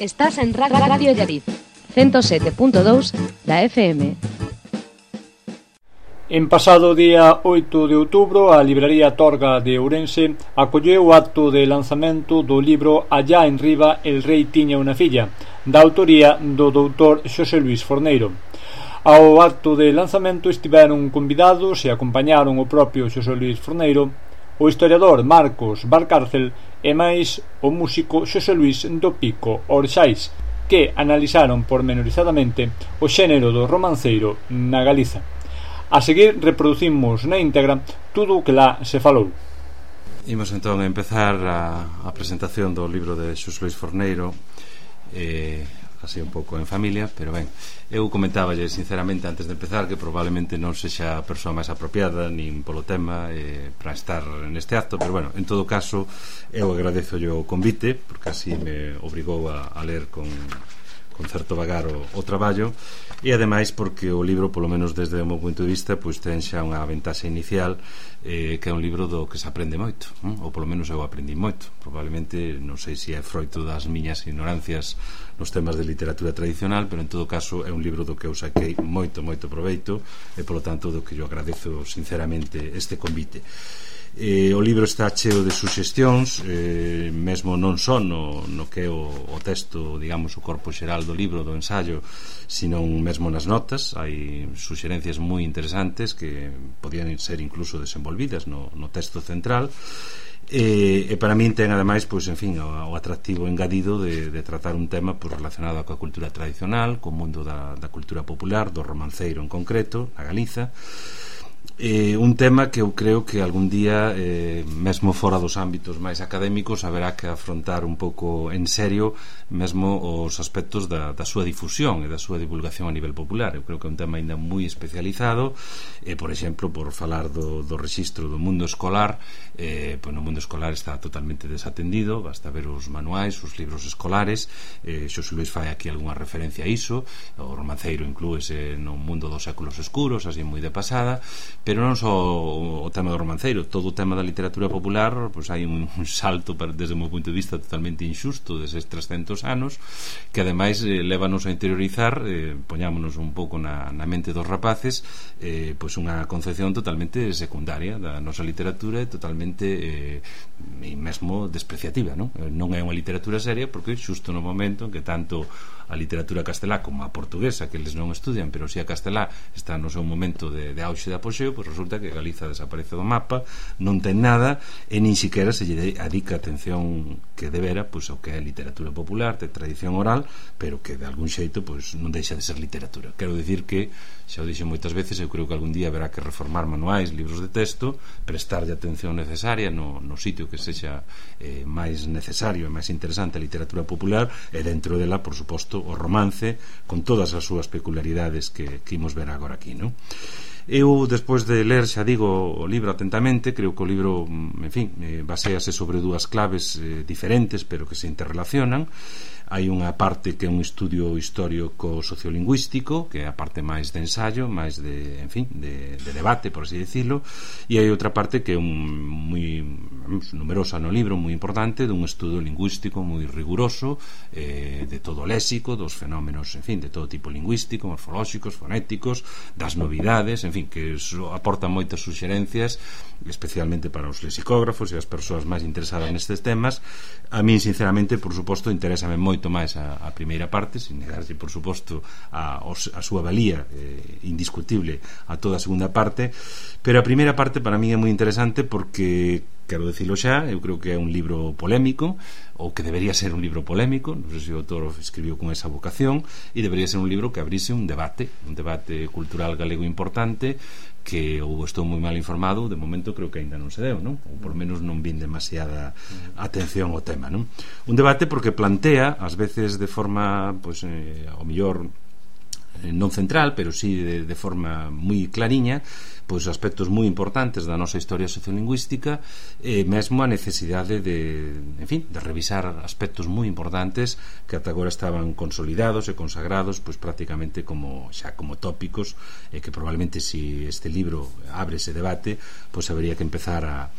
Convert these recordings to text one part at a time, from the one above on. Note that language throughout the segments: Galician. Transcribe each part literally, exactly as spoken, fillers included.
Estás en Radio Llariz, ciento sete punto dous da F M. En pasado día oito de outubro, a Libraría Torga de Ourense acolleu o acto de lanzamento do libro Allá en Riba el rei tiña unha filla, da autoría do doutor Xosé Luís Forneiro. Ao acto de lanzamento estiveron convidados e acompañaron o propio Xosé Luís Forneiro, o historiador Marcos Valcárcel e máis o músico Xosé Luís do Pico Orxais, que analizaron pormenorizadamente o xénero do romanceiro na Galiza. A seguir reproducimos na íntegra tudo o que lá se falou. Imos entón a empezar a, a presentación do libro de Xosé Luís Forneiro, eh, así un pouco en familia, pero ben, eu comentáballe sinceramente antes de empezar que probablemente non sexa a persoa máis apropiada nin polo tema eh, para estar neste acto, pero bueno, en todo caso eu agradezo o convite porque así me obrigou a, a ler con, con certo vagar o, o traballo, e ademais porque o libro, polo menos desde o meu punto de vista, pois ten xa unha ventaxa inicial, eh, que é un libro do que se aprende moito, hm? ou polo menos eu aprendi moito. Probablemente, non sei se é froito das miñas ignorancias nos temas de literatura tradicional, pero en todo caso é un libro do que eu saquei moito, moito proveito, e polo tanto do que eu agradezo sinceramente este convite. Eh, o libro está cheo de suxestións, eh, mesmo non só no, no que é o, o texto, digamos, o corpo xeral do libro, do ensayo, sino mesmo nas notas. Hai suxerencias moi interesantes que podían ser incluso desenvolvidas no, no texto central. E, e para min ten ademais, pois, en fin, o, o atractivo engadido de, de tratar un tema pois, relacionado coa cultura tradicional, co mundo da, da cultura popular, do romanceiro en concreto, na Galiza. Eh, un tema que eu creo que algún día eh, mesmo fora dos ámbitos máis académicos haberá que afrontar un pouco en serio mesmo os aspectos da, da súa difusión e da súa divulgación a nivel popular. Eu creo que é un tema ainda moi especializado, eh, por exemplo, por falar do, do rexistro do mundo escolar, eh, pois no mundo escolar está totalmente desatendido, basta ver os manuais, os libros escolares. eh, Xosé Luís fai aquí algunha referencia a iso, o romanceiro inclúese no mundo dos séculos escuros, así moi de pasada. Pero non só o tema do romanceiro, todo o tema da literatura popular, pois hai un, un salto para, desde o meu punto de vista totalmente injusto deses trescentos anos, que ademais eh, lévanos a interiorizar, eh, poñámonos un pouco na, na mente dos rapaces, eh, pois unha concepción totalmente secundaria da nosa literatura, totalmente eh, e mesmo despreciativa, non? Non é unha literatura seria porque xusto no momento en que tanto a literatura castelá como a portuguesa, que eles non estudian, pero si a castelá está no seu momento de, de auxe de apogeo, pois resulta que Galiza desaparece do mapa, non ten nada e nin siquiera se lle adica atención que debera pois ao que é literatura popular, de tradición oral, pero que de algún xeito pois non deixa de ser literatura. Quero dicir que, xa o dixen moitas veces, eu creo que algún día haberá que reformar manuais, libros de texto, prestarlle atención necesaria no, no sitio que sexa eh, máis necesario e máis interesante a literatura popular, e dentro dela, por suposto, o romance, con todas as súas peculiaridades que, que imos ver agora aquí, non? Eu, despois de ler, xa digo, o libro atentamente, creo que o libro, en fin, eh, basease sobre dúas claves eh, diferentes, pero que se interrelacionan. Hai unha parte que é un estudio histórico sociolingüístico, que é a parte máis de ensayo, máis de, en fin, de, de debate, por así decirlo, e hai outra parte que é un moi numerosa no libro, moi importante, dun estudo lingüístico moi riguroso, eh, de todo o léxico, dos fenómenos, en fin, de todo tipo lingüístico, morfolóxicos, fonéticos, das novidades, en fin, que aporta moitas suxerencias, especialmente para os lexicógrafos e as persoas máis interesadas nestes temas. A min, sinceramente, por suposto, interésame moito máis a, a primeira parte, sin negarse, por suposto, a, a súa valía eh, indiscutible a toda a segunda parte, pero a primeira parte para mí é moi interesante porque, quero dicilo xa, eu creo que é un libro polémico, ou que debería ser un libro polémico, non sei se o autor escribiu con esa vocación, e debería ser un libro que abrise un debate, un debate cultural galego importante, que ou estou moi mal informado, de momento creo que ainda non se deu, non? Ou por menos non vin demasiada atención ao tema, non? Un debate porque plantea, ás veces de forma, pois, eh, ao mellor non central, pero sí de, de forma moi clariña, pois aspectos moi importantes da nosa historia sociolingüística, e mesmo a necesidade de, en fin, de revisar aspectos moi importantes que ata agora estaban consolidados e consagrados pois prácticamente como xa como tópicos, e que probablemente si este libro abre ese debate, pois habería que empezar a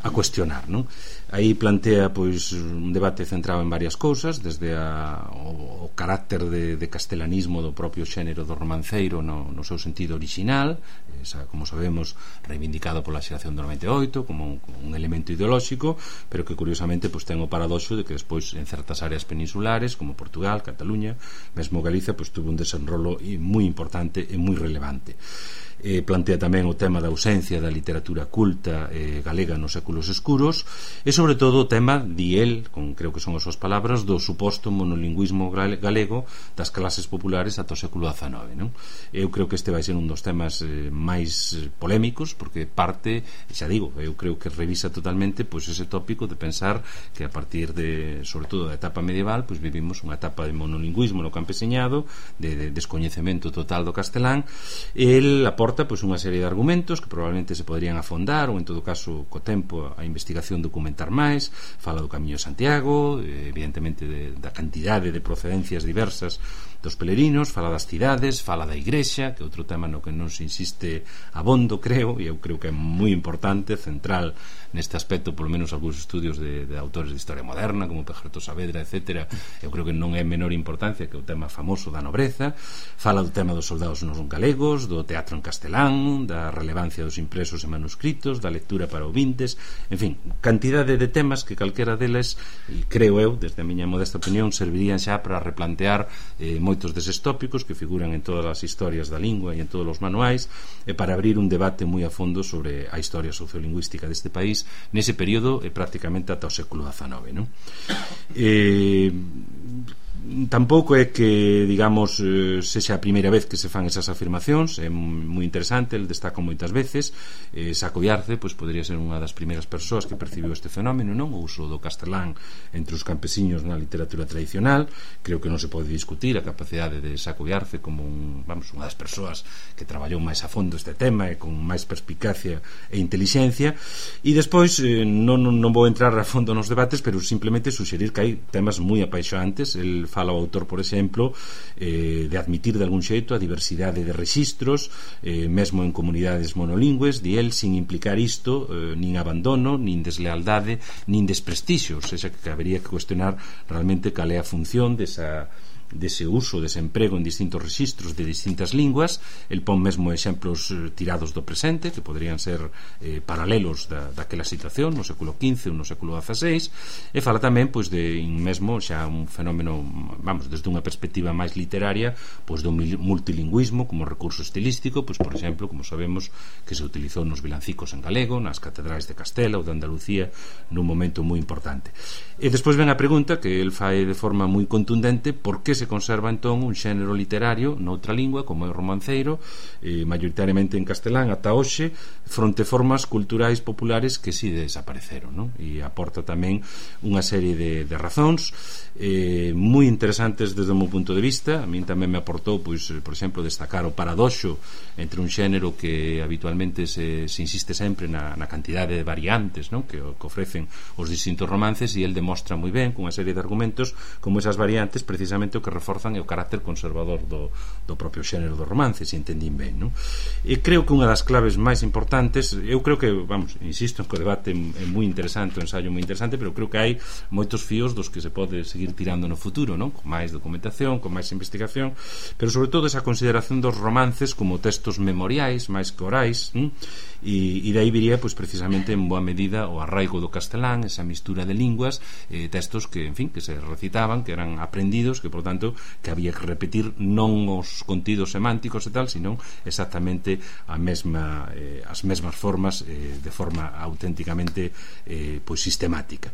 a cuestionar, non? Aí plantea pois un debate centrado en varias cousas, desde a, o, o carácter de, de castelanismo do propio xénero do romanceiro no, no seu sentido original, esa, como sabemos, reivindicado pola xeración do noventa e oito como un, un elemento ideolóxico, pero que curiosamente pois ten o paradoxo de que despois en certas áreas peninsulares como Portugal, Cataluña, mesmo Galicia, pois tuvo un desenrolo moi importante e moi relevante. Eh, plantea tamén o tema da ausencia da literatura culta eh, galega nos séculos escuros e sobre todo o tema, di el, con creo que son as súas palabras, do suposto monolingüismo galego das clases populares ata o século dezenove, non? Eu creo que este vai ser un dos temas eh, máis polémicos, porque parte, xa digo, eu creo que revisa totalmente pois ese tópico de pensar que a partir de, sobre todo da etapa medieval, pois vivimos unha etapa de monolingüismo no campeseñado, de, de descoñecemento total do castelán. El aporta pois unha serie de argumentos que probablemente se poderían afondar ou en todo caso co tempo a investigación documentar máis. Fala do Camiño de Santiago, evidentemente de, da cantidade de procedencias diversas dos pelerinos, fala das cidades, fala da igrexa, que é outro tema no que non se insiste abondo, creo, e eu creo que é moi importante, central neste aspecto, polo menos algúns estudios de, de autores de historia moderna como Pejerto Saavedra, etcétera. Eu creo que non é menor importancia que o tema famoso da nobreza. Fala do tema dos soldados non galegos, do teatro en castelán, da relevancia dos impresos e manuscritos, da lectura para ouvintes, en fin, cantidade de temas que calquera deles, e creo eu, desde a miña modesta opinión, servirían xa para replantear eh, moitos deses tópicos que figuran en todas as historias da lingua e en todos os manuais, e para abrir un debate moi a fondo sobre a historia sociolingüística deste país nese período e prácticamente ata o século dezenove, non? Eh, tampouco é que, digamos, eh, sexa a primeira vez que se fan esas afirmacións, é moi interesante, el destaca moitas veces. eh, Saco Iarce pois podría ser unha das primeiras persoas que percibiu este fenómeno, non? O uso do castelán entre os campesiños na literatura tradicional. Creo que non se pode discutir a capacidade de Saco Iarce como un, vamos, unha das persoas que traballou máis a fondo este tema e con máis perspicacia e inteligencia. E despois eh, non, non vou entrar a fondo nos debates, pero simplemente suxerir que hai temas moi apaixonantes. El fala o autor, por exemplo, eh, de admitir de algún xeito a diversidade de rexistros, eh, mesmo en comunidades monolingües, di el, sin implicar isto eh, nin abandono, nin deslealdade, nin desprestixio, ou seja, que habería que cuestionar realmente cal é a función desa dese uso, dese emprego en distintos rexistros de distintas linguas. El pon mesmo exemplos eh, tirados do presente que poderían ser eh, paralelos da, daquela situación no século quince ou no século dieciséis, e fala tamén pois de mesmo xa un fenómeno, vamos, desde unha perspectiva máis literaria, pois do multilingüismo como recurso estilístico, pois por exemplo, como sabemos que se utilizou nos vilancicos en galego, nas catedrais de Castela ou de Andalucía nun momento moi importante. E despois ven a pregunta que el fai de forma moi contundente: por que se conserva entón un xénero literario noutra lingua como é o romanceiro, eh, maioritariamente en castelán ata hoxe, fronte formas culturais populares que si desapareceron, non? E aporta tamén unha serie de, de razóns eh, moi interesantes desde o meu punto de vista. A min tamén me aportou, pois, por exemplo, destacar o paradoxo entre un xénero que habitualmente se, se insiste sempre na, na cantidade de variantes, non? Que, que ofrecen os distintos romances, e el demostra moi ben con unha serie de argumentos como esas variantes precisamente o que reforzan é o carácter conservador do, do propio xénero do romance, se entendín ben, non? E creo que unha das claves máis importantes, eu creo que, vamos, insisto en que o debate é moi interesante, o ensaio moi interesante, pero creo que hai moitos fíos dos que se pode seguir tirando no futuro, non? Con máis documentación, con máis investigación, pero sobre todo esa consideración dos romances como textos memoriais máis que orais, non? E, e dai viría, pois, precisamente en boa medida o arraigo do castelán, esa mistura de linguas, eh, textos que, en fin, que se recitaban, que eran aprendidos, que, por tanto, que había que repetir non os contidos semánticos e tal, sino exactamente a mesma, eh, as mesmas formas, eh, de forma auténticamente eh, pois sistemática.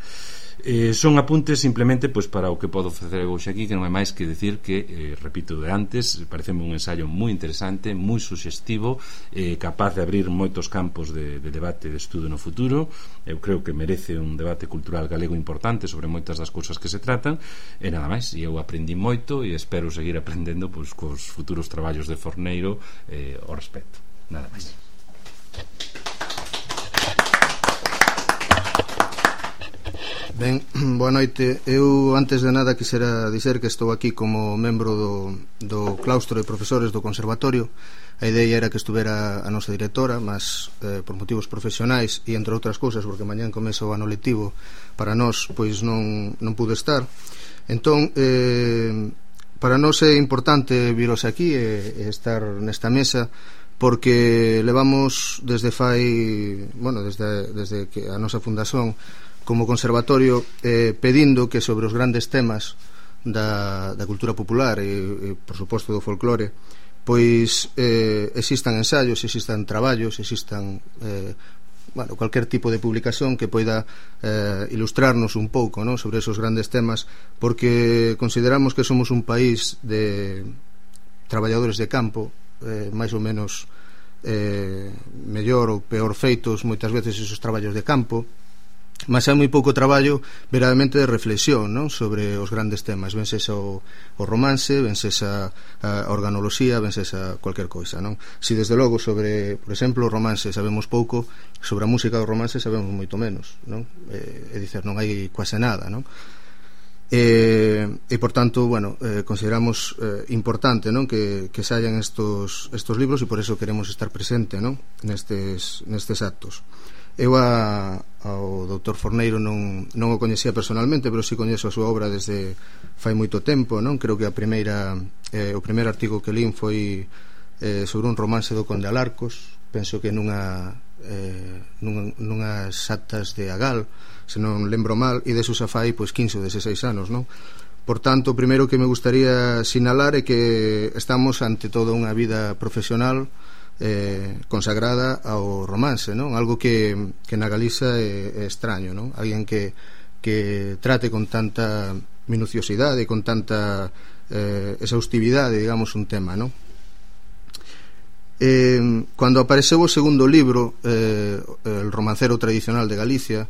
Eh, son apuntes simplemente pois para o que podo facer hoxe aquí, que non é máis que decir que, eh, repito de antes, pareceme un ensaio moi interesante, moi suxestivo, eh, capaz de abrir moitos campos de, de debate, de estudo no futuro. Eu creo que merece un debate cultural galego importante sobre moitas das cousas que se tratan, e nada máis. E eu aprendi moito e espero seguir aprendendo pois cos futuros traballos de Forneiro eh, ao respecto. Nada máis. Ben, boa noite. Eu, antes de nada, quixera dizer que estou aquí como membro do, do claustro de profesores do conservatorio. A idea era que estuvera a nosa directora, mas eh, por motivos profesionais e entre outras cousas, porque mañán comeza o ano lectivo para nós, pois non, non pude estar. Entón, eh, para nós é importante viros aquí e, e estar nesta mesa, porque levamos desde fai, bueno, desde, desde que a nosa fundación como conservatorio eh, pedindo que sobre os grandes temas da, da cultura popular e, e por suposto do folclore, pois eh, existan ensaios, existan traballos, existan eh, bueno, cualquier tipo de publicación que poida eh, ilustrarnos un pouco, ¿no?, sobre esos grandes temas, porque consideramos que somos un país de traballadores de campo, eh, máis ou menos eh, mellor ou peor feitos moitas veces esos traballos de campo, mas hai moi pouco traballo verdadeiramente de reflexión, non?, sobre os grandes temas. Vense esa o, o romance, vense esa a organoloxía, vense esa cualquier coisa, non? Si desde logo sobre, por exemplo, o romance sabemos pouco, sobre a música do romance sabemos moito menos, non? Eh, é dicer, non hai quase nada, non? E, e por tanto, bueno, eh, consideramos eh, importante, non?, que, que saian estos, estos libros, e por eso queremos estar presente, non?, nestes, nestes actos. Eu a, ao doutor Forneiro non, non o coñecía personalmente, pero si coñezo a súa obra desde fai moito tempo, non? Creo que a primeira eh, o primeiro artigo que lín foi eh, sobre un romance do Conde Alarcos, penso que nunha eh, nunha, nunhas actas de Agal, se non lembro mal, e deso xa fai pois quince ou dezasseis anos, non? Por tanto, o primeiro que me gustaría sinalar é que estamos ante toda unha vida profesional Eh, consagrada ao romance, non? Algo que, que na Galiza é, é extraño, non? Alguén que, que trate con tanta minuciosidade, con tanta eh, exhaustividade, digamos, un tema, non? Eh, cando apareceu o segundo libro, eh, El romancero tradicional de Galicia,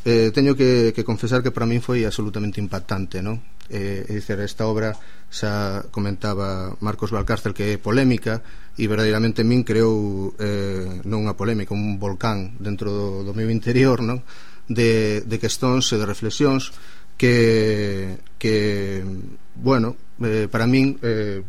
eh, teño que, que confesar que para min foi absolutamente impactante, non? Eh, é dicir, esta obra xa comentaba Marcos Valcárcel que é polémica, e verdadeiramente min creou eh, non unha polémica, un volcán dentro do, do meu interior, non? De, de questões e de reflexións que, que bueno, eh, para min eh,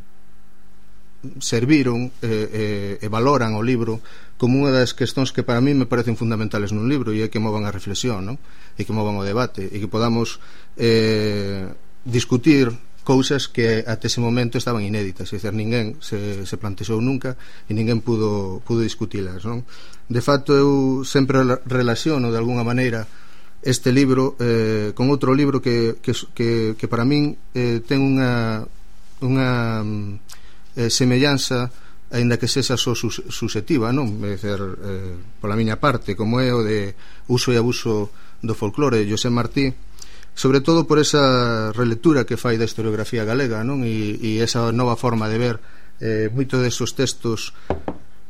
serviron eh, eh, e valoran o libro como unha das questões que para min me parecen fundamentales nun libro, e é que movan a reflexión, non? E que movan o debate, e que podamos eh, discutir cousas que até ese momento estaban inéditas, é dicir, ninguén se, se plantexou nunca e ninguén pudo, pudo discutilas, non? De facto, eu sempre relaciono de alguna maneira este libro eh, con outro libro que, que, que, que para min eh, ten unha unha eh, semellanza, aínda que sexa só sus, susceptiva, non? É dicir, eh, pola miña parte, como é o de Uso e abuso do folclore de José Martí, sobre todo por esa relectura que fai da historiografía galega, non? E, e esa nova forma de ver eh, moito desos textos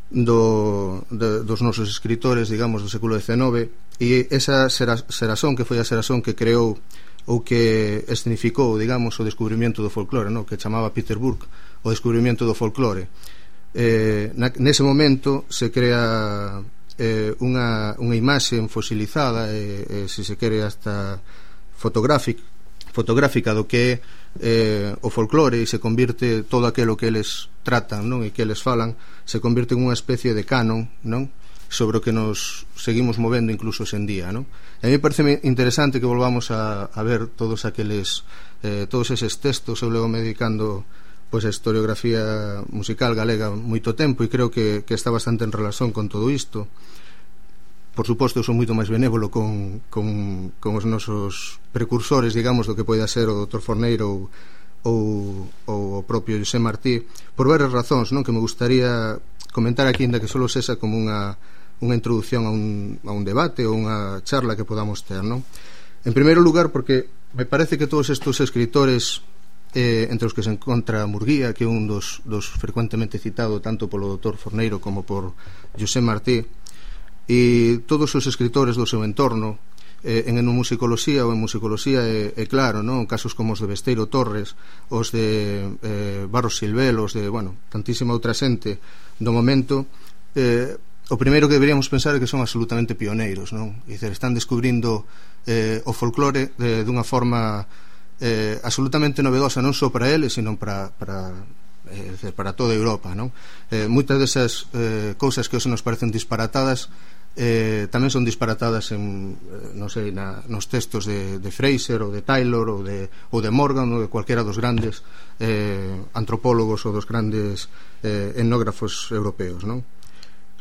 do, de, dos nosos escritores, digamos, do século dezenove, e esa xeración que foi a xeración que creou ou que escenificou, digamos, o descubrimento do folclore, non? Que chamaba Peter Burke o descubrimento do folclore. Eh, na, nese momento se crea eh, unha, unha imaxe fosilizada e, e se se quere hasta fotográfica, fotográfica do que é eh, o folclore, e se convirte todo aquilo que eles tratan, non? E que eles falan, se convirte en unha especie de canon, non? Sobre o que nos seguimos movendo incluso en día, non? E a mí parece interesante que volvamos a, a ver todos aqueles eh, todos eses textos. Eu levo me dedicando pois a historiografía musical galega moito tempo, e creo que, que está bastante en relación con todo isto. Por suposto, eu son moito máis benévolo con, con, con os nosos precursores, digamos, do que poida ser o doutor Forneiro ou, ou o propio José Martí, por varias razóns, non? Que me gustaría comentar aquí, ainda que solo sexa como unha, unha introducción a un, a un debate ou unha charla que podamos ter, non? En primeiro lugar, porque me parece que todos estes escritores, eh, entre os que se encontra Murguía, que é un dos, dos frecuentemente citado tanto polo doutor Forneiro como por José Martí, e todos os escritores do seu entorno, eh, en etnomusicoloxía ou en musicoloxía é, é claro, non? Casos como os de Besteiro Torres, os de eh, Barros Silvel, os de, bueno, tantísima outra xente do momento, eh, o primeiro que deberíamos pensar é que son absolutamente pioneiros, non? É dicir, están descubrindo eh, o folclore de, dunha forma eh, absolutamente novedosa, non só para eles, sino para, para, eh, decir, para toda Europa, non? Eh, moitas desas eh, cousas que hoxe nos parecen disparatadas eh, tamén son disparatadas en, non sei, na, nos textos de, de Fraser ou de Taylor ou de, ou de Morgan ou de cualquiera dos grandes eh, antropólogos ou dos grandes eh, etnógrafos europeos, non?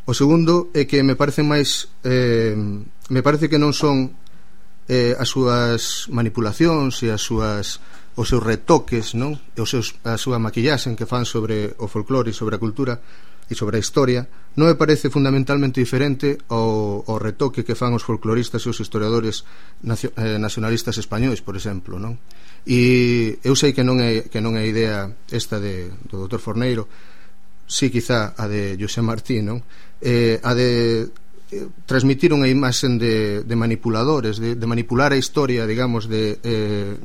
O segundo é que me parece máis eh, me parece que non son eh, as súas manipulacións e as súas os seus retoques, non? E os seus, a súa maquillaxe que fan sobre o folclore e sobre a cultura e sobre a historia non me parece fundamentalmente diferente ao, ao retoque que fan os folcloristas e os historiadores nacio, eh, nacionalistas españois, por exemplo, non? E eu sei que non é, que non é a idea esta de, do doutor Forneiro, sí, quizá a de José Martí, non? Eh, a de eh, transmitir unha imaxen de, de manipuladores, de, de manipular a historia, digamos, de eh,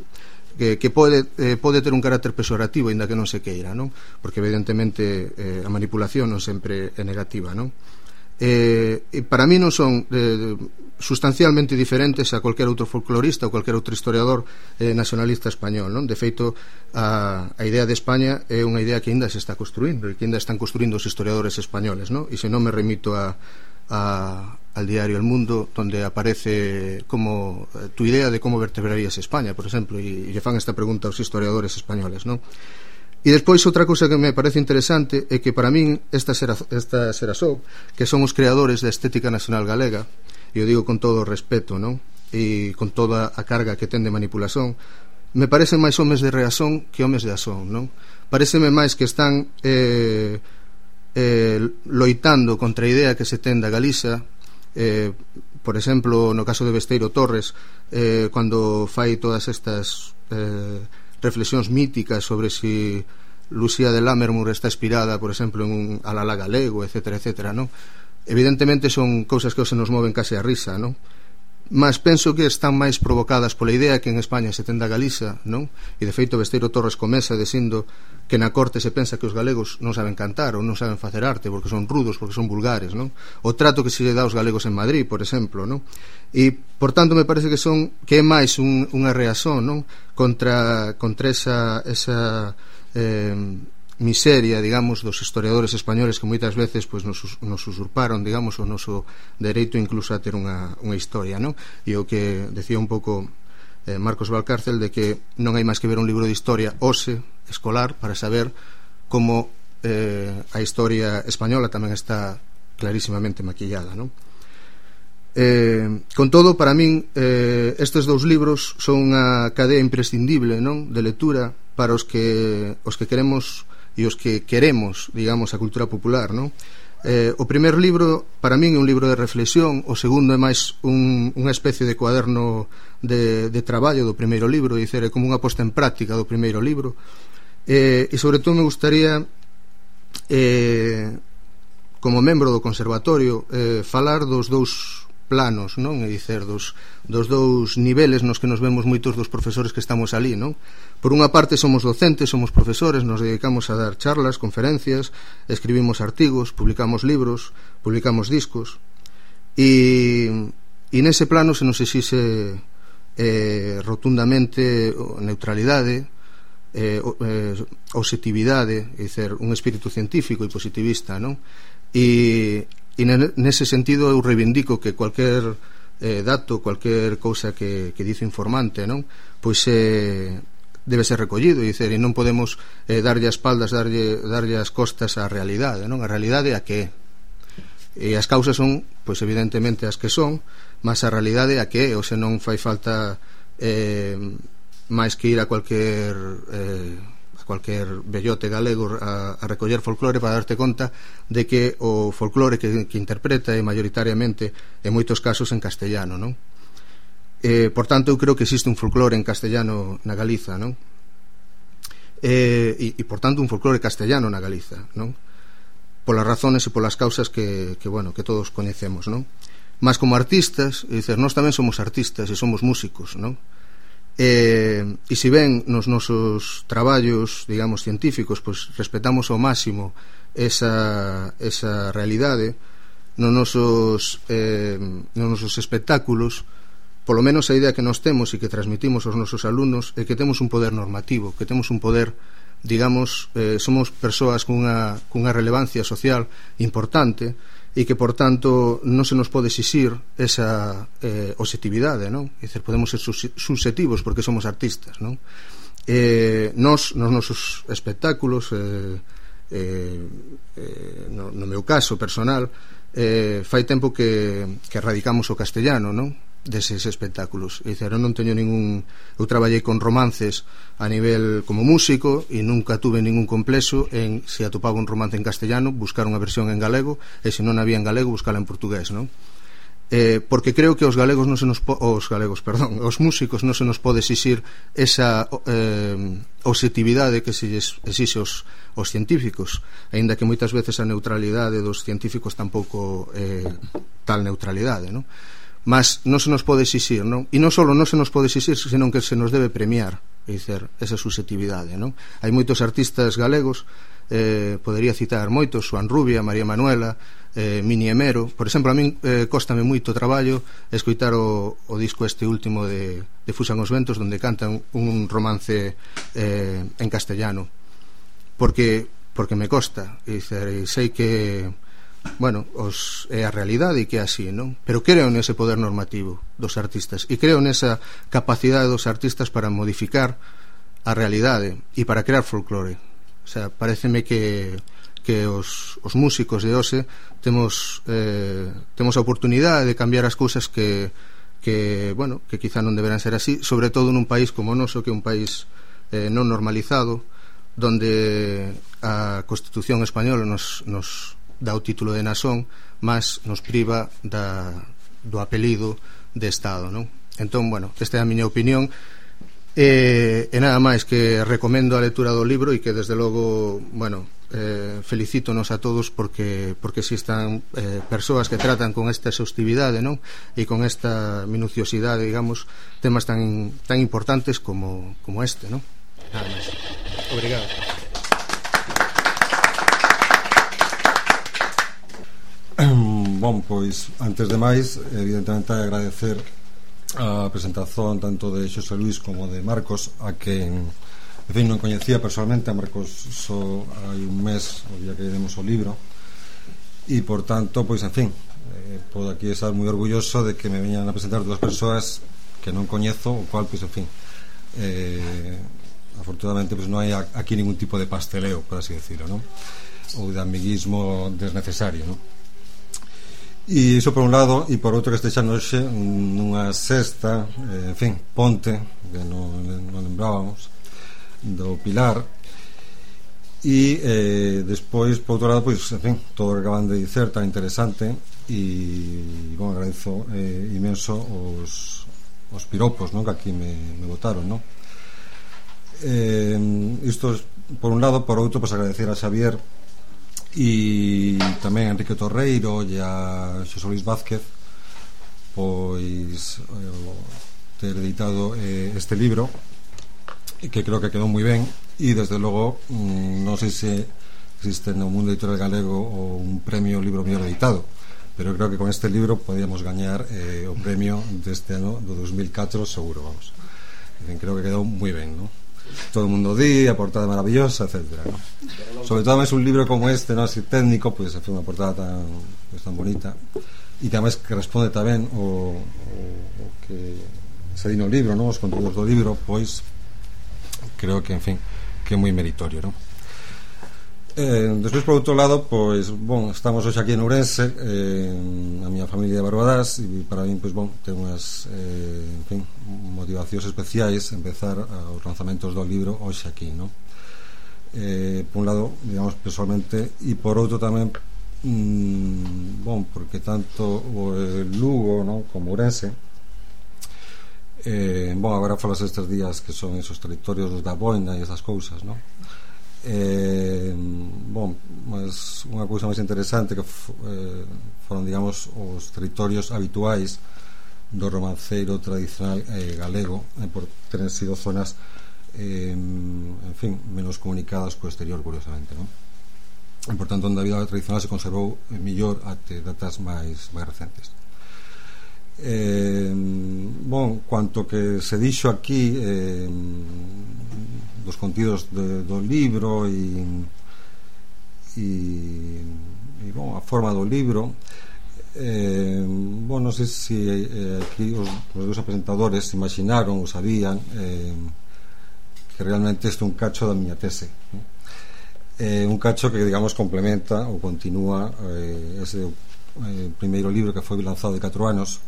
que, que pode, eh, pode ter un carácter pexorativo, ainda que non se queira, non? Porque evidentemente eh, a manipulación non sempre é negativa, non? Eh, e para mí non son eh, sustancialmente diferentes a cualquier outro folclorista ou cualquier outro historiador eh, nacionalista español, non? De feito, a, a idea de España é unha idea que ainda se está construindo e que ainda están construindo os historiadores españoles, non? E se non me remito a, a, al diario El Mundo, donde aparece como eh, tu idea de como vertebrarías España, por exemplo, e, e lle fan esta pregunta aos historiadores españoles, non? E despois outra cousa que me parece interesante é que para min esta será, esta será só, que son os creadores da estética nacional galega, e o digo con todo o respeto, non? E con toda a carga que ten de manipulación, me parecen máis homes de reazón que homes de azón, non? Pareceme máis que están eh, eh, loitando contra a idea que se ten da Galiza, eh, por exemplo, no caso de Besteiro Torres, eh, cando fai todas estas eh, reflexións míticas sobre si Lucía de Lammermoor está inspirada, por exemplo, en un alalá galego, etcétera, etcétera, non? Evidentemente son cousas que se nos moven case a risa, non? Mas penso que están máis provocadas pola idea que en España se ten da Galiza, non? E de feito Besteiro Torres comeza dicindo que na corte se pensa que os galegos non saben cantar ou non saben facer arte porque son rudos, porque son vulgares, non? O trato que se lle dá aos galegos en Madrid, por exemplo, non? E, por tanto, me parece que son que é máis un, unha reazón, non? Contra, contra esa, esa eh, miseria, digamos, dos historiadores españoles que moitas veces pues, nos, nos usurparon, digamos, o noso dereito incluso a ter unha, unha historia, non? E o que decía un pouco eh, Marcos Valcárcel, de que non hai máis que ver un libro de historia hoxe, escolar, para saber como eh, a historia española tamén está clarísimamente maquillada, non? Eh, con todo, para min eh, estes dous libros son unha cadea imprescindible, non? De lectura para os que os que queremos e os que queremos, digamos, a cultura popular, non? Eh, o primer libro para min é un libro de reflexión, o segundo é máis un, unha especie de cuaderno de, de traballo do primeiro libro, é dizer, é como unha posta en práctica do primeiro libro, eh, e sobre todo me gustaría eh, como membro do conservatorio eh, falar dos dous planos, non? É dicer, dos, dos dous niveles nos que nos vemos moitos dos profesores que estamos ali, non? Por unha parte somos docentes, somos profesores, nos dedicamos a dar charlas, conferencias, escribimos artigos, publicamos libros, publicamos discos, e, e nese plano se nos exixe eh, rotundamente neutralidade, eh, eh, objetividade, é dicer, un espírito científico e positivista, non? E e nese sentido eu reivindico que cualquier eh, dato, cualquier cousa que, que dice informante, non? Pois eh, debe ser recollido, e, dicer, e non podemos eh, darlle as espaldas, darlle, darlle as costas á realidade, non? A realidade a que é, e as causas son, pois evidentemente as que son, mas a realidade a que é, ou se non fai falta eh, máis que ir a cualquier eh, cualquier bellote galego a, a recoller folclore para darte conta de que o folclore que, que interpreta é maioritariamente en moitos casos en castellano, non? Eh, por tanto, eu creo que existe un folclore en castellano na Galiza, non? Eh, e, e por tanto un folclore castellano na Galiza, non? Polas razones e polas causas que, que, bueno, que todos coñecemos, non? Mas como artistas, é dicer, nós tamén somos artistas e somos músicos, non? Eh, e se ben nos nosos traballos, digamos, científicos, pois respetamos ao máximo esa, esa realidade, nos nosos, eh, nos nosos espectáculos, polo menos a idea que nos temos e que transmitimos aos nosos alumnos é que temos un poder normativo, que temos un poder, digamos, eh, somos persoas cunha, cunha relevancia social importante e que, por tanto, non se nos pode exixir esa eh, objetividade, non? É dicir, podemos ser subjetivos porque somos artistas, non? Eh, nos, nos nosos espectáculos, eh, eh, eh, no, no meu caso personal, eh, fai tempo que, que erradicamos o castellano, non? Deses espectáculos. É dicir, eu non teño ningún, eu traballei con romances a nivel como músico e nunca tuve ningún complexo en, se atopaba un romance en castellano, buscar unha versión en galego, e se non había en galego, buscala en portugués, non? Eh, porque creo que os galegos non se nos po os galegos, perdón, os músicos non se nos pode exixir esa eh, objetividade que se exixe os, os científicos, aínda que moitas veces a neutralidade dos científicos tampouco eh, tal neutralidade, non? Mas non se nos pode exixir, non? E non só non se nos pode exixir, senón que se nos debe premiar, é dicir, esa subjetividade, non? Hai moitos artistas galegos, eh, podería citar moitos, Xoán Rubia, María Manuela, eh, Mini Emero. Por exemplo, a min eh, cóstame moito traballo escoitar o, o disco este último de, de Fusan os Ventos, donde cantan un romance eh, en castellano, porque porque me costa, e sei que, bueno, os, é a realidade e que é así, non? Pero creo nese poder normativo dos artistas e creo nesa capacidade dos artistas para modificar a realidade e para crear folclore. O sea, pareceme que que os, os músicos de hoxe temos eh, temos a oportunidade de cambiar as cousas que, que, bueno, que quizá non deberán ser así, sobre todo nun país como o noso, que é un país eh, non normalizado, donde a Constitución española nos, nos dá o título de nación, mas nos priva da, do apelido de Estado, non? Entón, bueno, esta é a miña opinión. E, e nada máis, que recomendo a lectura do libro e que desde logo, bueno, eh, felicítonos a todos porque porque existan eh, persoas que tratan con esta exhaustividade, non? E con esta minuciosidade, digamos, temas tan tan importantes como como este, non? Nada máis. Obrigado. Bon, pois, antes de máis, evidentemente agradecer a presentación tanto de Xosé Luis como de Marcos, a que, en fin, non coñecía personalmente a Marcos só hai un mes o día que demos o libro, e por tanto, pois, en fin, eh, podo aquí estar moi orgulloso de que me veñan a presentar dúas persoas que non coñezo, o cual, pois, en fin, eh, afortunadamente, pois, non hai aquí ningún tipo de pasteleo, por así decirlo, non? Ou de amiguismo desnecesario, non? E iso por un lado, e por outro que estexa noxe nunha sexta, eh, en fin, ponte que non, non lembrábamos do Pilar, e eh, despois, por outro lado, pois, en fin, todo o que acaban de dicer tan interesante, e, bueno, agradezo eh, imenso os, os piropos, non, que aquí me, me botaron, non? Eh, isto por un lado. Por outro, pois, agradecer a Xavier e tamén a Enrique Torreiro e a Xosé Luis Vázquez, pois, eh, ter editado eh, este libro, que creo que quedou moi ben, e desde logo mmm, non sei se existe no mundo editorial galego o un premio libro mellor editado, pero creo que con este libro podíamos gañar eh, o premio deste ano do dos mil catro seguro, vamos. En fin, creo que quedou moi ben, non? Todo o mundo di, a portada maravillosa, etcétera, ¿no? Sobre todo es un libro como este, ¿no? Así técnico, pues hace una portada tan, pues, tan bonita, y que además que responde tamén o, o, o que se di no libro, ¿no? Os conteúdos do libro, pois creo que, en fin, que é moi meritorio, ¿no? Eh, despois, por outro lado, pois, bon, estamos hoxe aquí en Ourense, eh, a miña familia de Barbadás, e para mí, pois, bon, ten unhas eh, en fin, motivacións especiais empezar os lanzamentos do libro hoxe aquí, non? Eh, por un lado, digamos, personalmente, e por outro tamén, mmm, bon, porque tanto o Lugo, non, como Ourense, eh, bon, agora falas estes días que son esos territorios da boina e esas cousas, non? Eh, bon, mas unha cousa máis interesante que eh, foron, digamos, os territorios habituais do romanceiro tradicional eh, galego, eh, por ter sido zonas eh, en fin, menos comunicadas co exterior, curiosamente, non? e por tanto onde a vida tradicional se conservou mellor até datas máis máis recentes. Eh, bon, cuanto que se dixo aquí eh, dos contidos de, do libro e e, e bon, a forma do libro, eh, bon, non sei se eh, aquí os, os dos presentadores imaginaron ou sabían eh, que realmente isto é un cacho da miña tese, ¿no? Eh, un cacho que, digamos, complementa ou continúa eh, ese eh, primeiro libro que foi lanzado de catro anos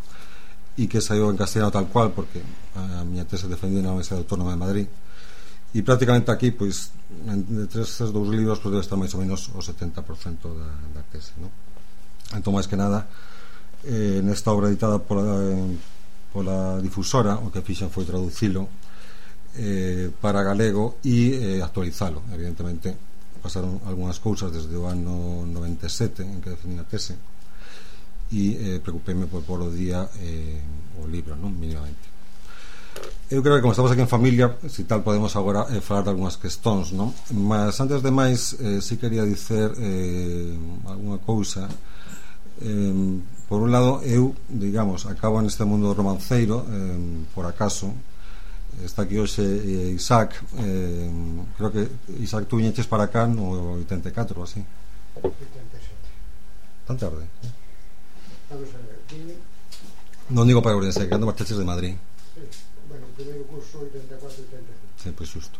e que saiu en castellano tal cual, porque a miña tese defendida na Universidade Autónoma de Madrid, e prácticamente aquí, pois, entre estes dous libros, pois debe estar máis ou menos o setenta por cento da, da tese, ¿no? Entón, máis que nada, eh, nesta obra editada pola, eh, pola difusora, o que fixen foi traducilo eh, para galego e eh, actualizalo. Evidentemente pasaron algunhas cousas desde o ano noventa e sete en que defendí a tese, e eh, preocupéme por pôr o día eh, o libro, non? Mínimamente. Eu creo que como estamos aquí en familia, si tal podemos agora eh, falar de algunhas questões, non? Mas antes de máis, eh, si quería dicer eh, algunha cousa. Eh, por un lado, eu, digamos, acabo neste mundo romanceiro eh, por acaso. Está aquí hoxe eh, Isaac, eh, creo que Isaac, tú viñeches para cá no oitenta e catro ou así. oitenta e sete. Tan tarde, eh? Vamos a ver, vine... Non digo para Ourense, que cando marchaches de Madrid. Sí, bueno, o primeiro curso oitenta e catro oitenta e cinco. Sí, pois xusto.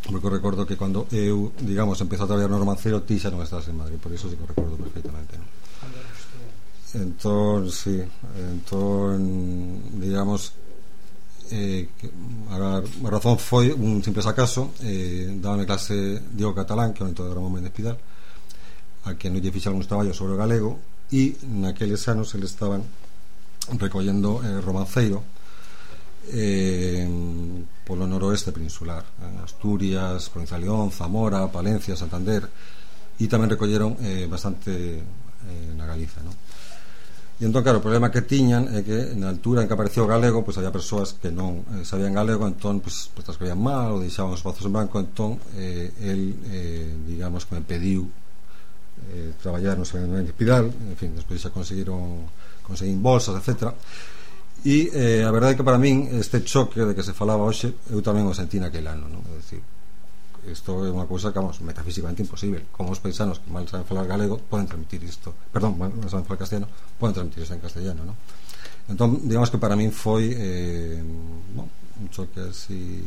Porque recordo que cando eu, digamos, empezo a traballar no romancero, ti xa non estás en Madrid, por iso sí que recordo perfectamente, non? Cando era estudiante. Entón, sí, entón, digamos, eh, a, a razón foi un simples acaso. eh, dábame clase Diego Catalán, que é o neto de Ramón Méndez Pidal, a que non lle fixe algúns traballos sobre o galego, e naqueles anos eles estaban recollendo eh, romanceiro eh, polo noroeste peninsular, en Asturias, Provincia de León, Zamora, Palencia, Santander, e tamén recolleron eh, bastante eh, na Galiza, non? E entón, claro, o problema que tiñan é que na altura en que apareceu o galego, pois había persoas que non eh, sabían galego, entón, pois, pois escribían mal ou deixaban os espazos en branco. Entón, eh, el, eh, digamos, que me pediu eh, traballar no Seminario de Pidal, en fin, despois xa conseguiron conseguín bolsas, etcétera. E eh, a verdade é que para min este choque de que se falaba hoxe, eu tamén o sentí naquele ano, non? É dicir, isto é unha cousa que, vamos, metafísicamente imposible. Como os paisanos que mal saben falar galego poden transmitir isto, perdón, mal saben falar castellano, poden transmitir isto en castellano, non? Entón, digamos que para min foi eh, bon, un choque así,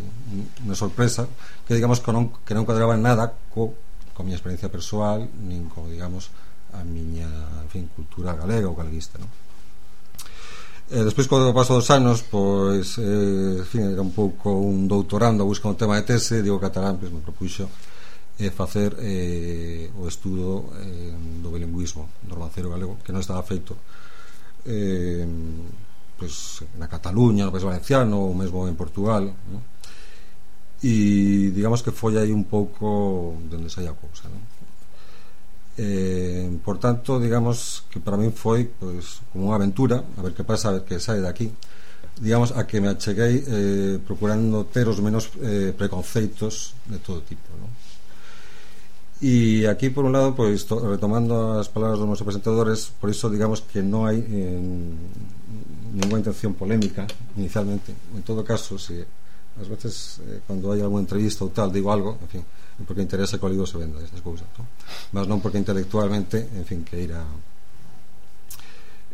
unha sorpresa, que digamos que non, que non cuadraba nada co, co miña experiencia persoal, nin co, digamos, a miña, en fin, cultura galega ou galeguista, non? Eh, despois, co paso dos anos, pois, eh, en fin, era un pouco un doutorando a buscar un tema de tese. Diego Catalán, pois, me propuxo eh, facer eh, o estudo eh, do bilingüismo do romancero galego, que non estaba feito eh, pois, na Cataluña, no País Valenciano ou mesmo en Portugal, non? E digamos que foi aí un pouco de onde saía a cousa, non? Eh, por tanto, digamos que para min foi, pois, como unha aventura, a ver que pasa, a ver que sai de aquí, digamos, a que me acheguei eh, procurando ter os menos eh, preconceitos de todo tipo, non? E aquí, por un lado, pois, to, retomando as palabras dos meus presentadores, por iso, digamos, que non hai eh, ninguna intención polémica inicialmente. En todo caso, se ás veces eh, cando hai alguna entrevista ou tal digo algo, en fin, porque interesa que o libro se venda, estas cousas, non? Mas non porque intelectualmente, en fin, que ir a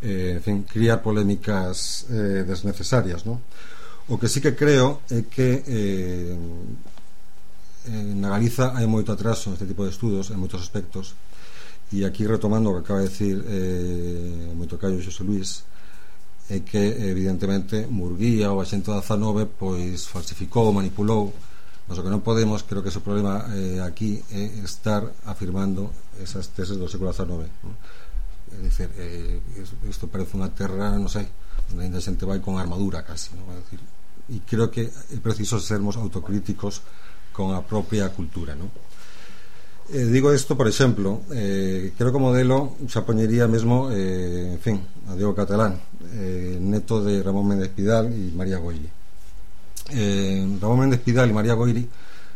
eh, en fin, criar polémicas eh, desnecesarias, non? O que sí que creo é que eh, na Galiza hai moito atraso neste tipo de estudos en moitos aspectos, e aquí retomando o que acaba de decir eh, o moito callo Xosé Luís, é que evidentemente Murguía ou a xente da dezanove pois falsificou, manipulou. Mas o que non podemos, creo que ese problema eh, aquí é estar afirmando esas teses do século dezanove, ¿no? É dicir, eh, isto parece unha terra, non sei, onde ainda a xente vai con armadura casi, ¿no? É dicir, e creo que é preciso sermos autocríticos con a propia cultura, ¿no? Eh, digo isto, por exemplo, eh, creo que o modelo xa poñería mesmo, eh, en fin, a Diego Catalán, eh, neto de Ramón Méndez Pidal e María Goiri. Eh, Ramón Méndez Pidal e María Goiri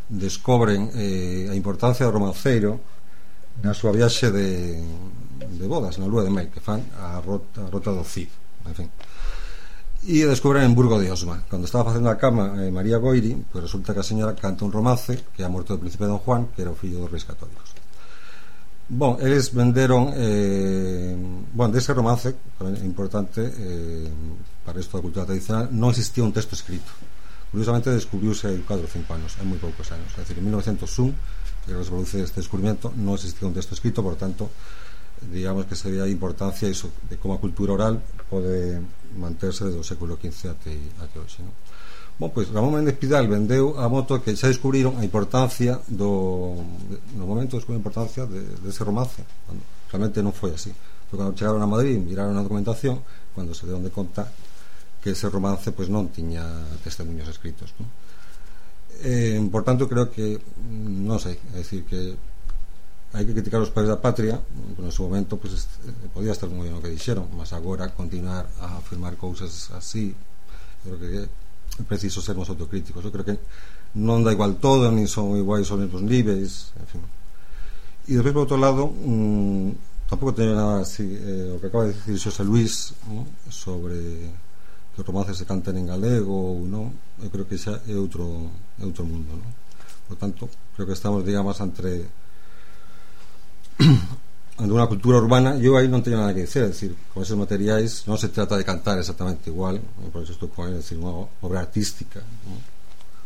descobren eh, a importancia do romanceiro na súa viaxe de, de bodas na lúa de mel, que fan a rota, a rota do Cid, en fin. E descubren en Burgo de Osma. Cando estaba facendo a cama eh, María Goiri, pues resulta que a señora canta un romance que é a morte do príncipe Don Juan, que era o fillo dos reis católicos. Bon, eles venderon eh, bon, dese romance é importante eh, para isto da cultura tradicional, non existía un texto escrito. Curiosamente descubriuse hai catro ou cinco anos, hai moi poucos anos, é dicir, en mil novecientos un, que se produce este descubrimento, non existía un texto escrito, por tanto digamos que se ve a importancia iso, de como a cultura oral pode manterse desde o século quince até, até hoxe, non? Bon, pois Ramón Méndez Pidal vendeu a moto que xa descubriron a importancia do no momento descubriron a importancia de, de ese romance, cando realmente non foi así. Foi cando chegaron a Madrid, miraron a documentación, cando se deron de conta que ese romance pois non tiña testemunhos escritos, non? Eh, por tanto creo que non sei, é dicir que hai que criticar os padres da patria, pero en su momento pues, podía estar moi ben o que dixeron, mas agora continuar a afirmar cousas así, creo que é preciso sermos autocríticos. Eu creo que non dá igual todo, nin son iguais os mesmos níveis, en fin. E despois, por outro lado, mmm, tampouco teño nada así, eh, o que acaba de dicir Xosé Luís, ¿no?, sobre que os romances se canten en galego ou non, eu creo que xa é outro, é outro mundo, ¿no? Por tanto, creo que estamos, digamos, entre de unha cultura urbana. Eu aí non teño nada que dicer, é dicir, con esos materiais non se trata de cantar exactamente igual, por eso estou con ele, é dicir, unha obra artística, ¿no?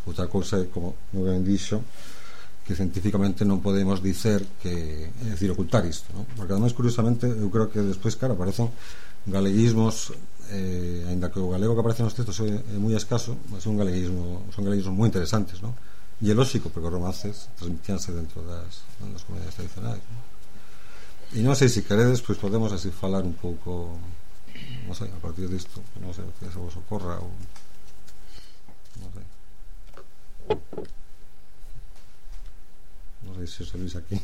Outra cousa é, como moi ben dixo, que científicamente non podemos dicer que, é dicir, ocultar isto, ¿no? Porque ademais, curiosamente, eu creo que despois, claro, aparecen galeguismos, eh, ainda que o galego que aparece nos textos é, é moi escaso, mas é un galeguismo, son galeguismos moi interesantes, ¿no? E é lógico, porque os romances transmitíanse dentro das, das comunidades tradicionais, ¿no? E non sei se queredes, pois podemos así falar un pouco, non sei, a partir disto, non sei que se vos ocorra ou non sei. Non sei se os salís aquí.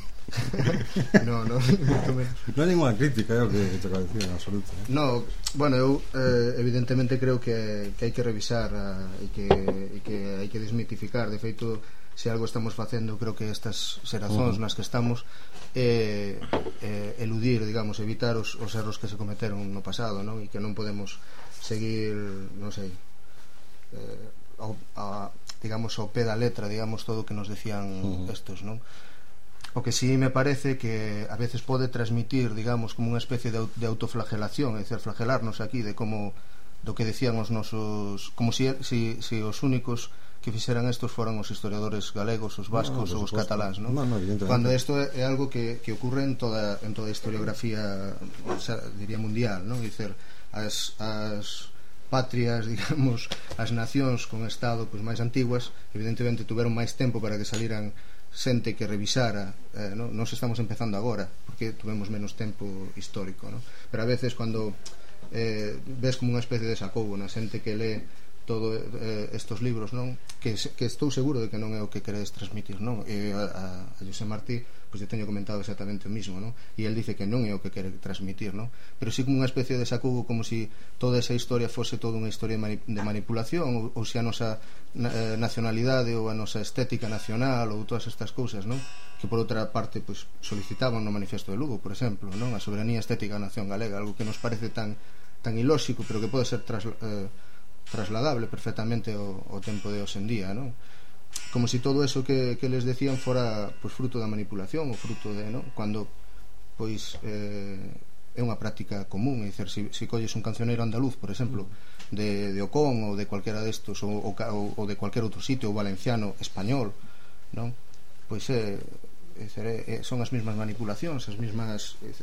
No, no, non hai ninguna crítica, é o que te acabo de decir en absoluto, eh? No, bueno, eu eh, evidentemente creo que, que hai que revisar a, e, que, e que hai que desmitificar. De feito, se algo estamos facendo, creo que estas xerazóns uh -huh. nas que estamos eh, eh, eludir, digamos, evitar os, os erros que se cometeron no pasado, non? E que non podemos seguir, non sei, eh, ao, a, digamos, ao pé da letra, digamos, todo o que nos decían uh -huh. estos, non? O que sí me parece que a veces pode transmitir, digamos, como unha especie de, de autoflagelación, é dicir, flagelarnos aquí de como, do que decían os nosos, como si, si, si os únicos que fixeran estos foran os historiadores galegos, os vascos no, ou os cataláns, non? No, no, cando isto é, é algo que, que ocurre en toda, en toda a historiografía, o sea, diría mundial, non? Dicer, as, as patrias, digamos, as nacións con estado pois, máis antiguas, evidentemente tuveron máis tempo para que saliran xente que revisara, eh, non? Nos estamos empezando agora porque tuvemos menos tempo histórico, non? Pero a veces cando eh, ves como unha especie de sacoubo na xente que lee todo eh, estos libros, non? Que, que estou seguro de que non é o que queredes transmitir, non? E a, a José Martí, pois eu teño comentado exactamente o mismo, non? E el dice que non é o que quere transmitir, non? Pero sí como unha especie de sacugo, como si toda esa historia fose toda unha historia de, mani de manipulación, ou, ou se a nosa eh, nacionalidade ou a nosa estética nacional ou todas estas cousas, non? Que por outra parte, pois, solicitaban no Manifesto de Lugo, por exemplo, non? A soberanía estética da nación galega, algo que nos parece tan, tan ilóxico, pero que pode ser tras, eh, trasladable perfectamente ao, ao tempo de hoxe en día, non? Como si todo eso que, que les decían fora pois, fruto da manipulación ou fruto de, non? Cuando pois eh, é unha práctica común, é dicir, se si, si colles un cancioneiro andaluz, por exemplo, de, de Ocón ou de cualquera destos ou, ou, ou de cualquier outro sitio, ou valenciano, español, non? Pois é, é, é, son as mesmas manipulacións, as mesmas, é,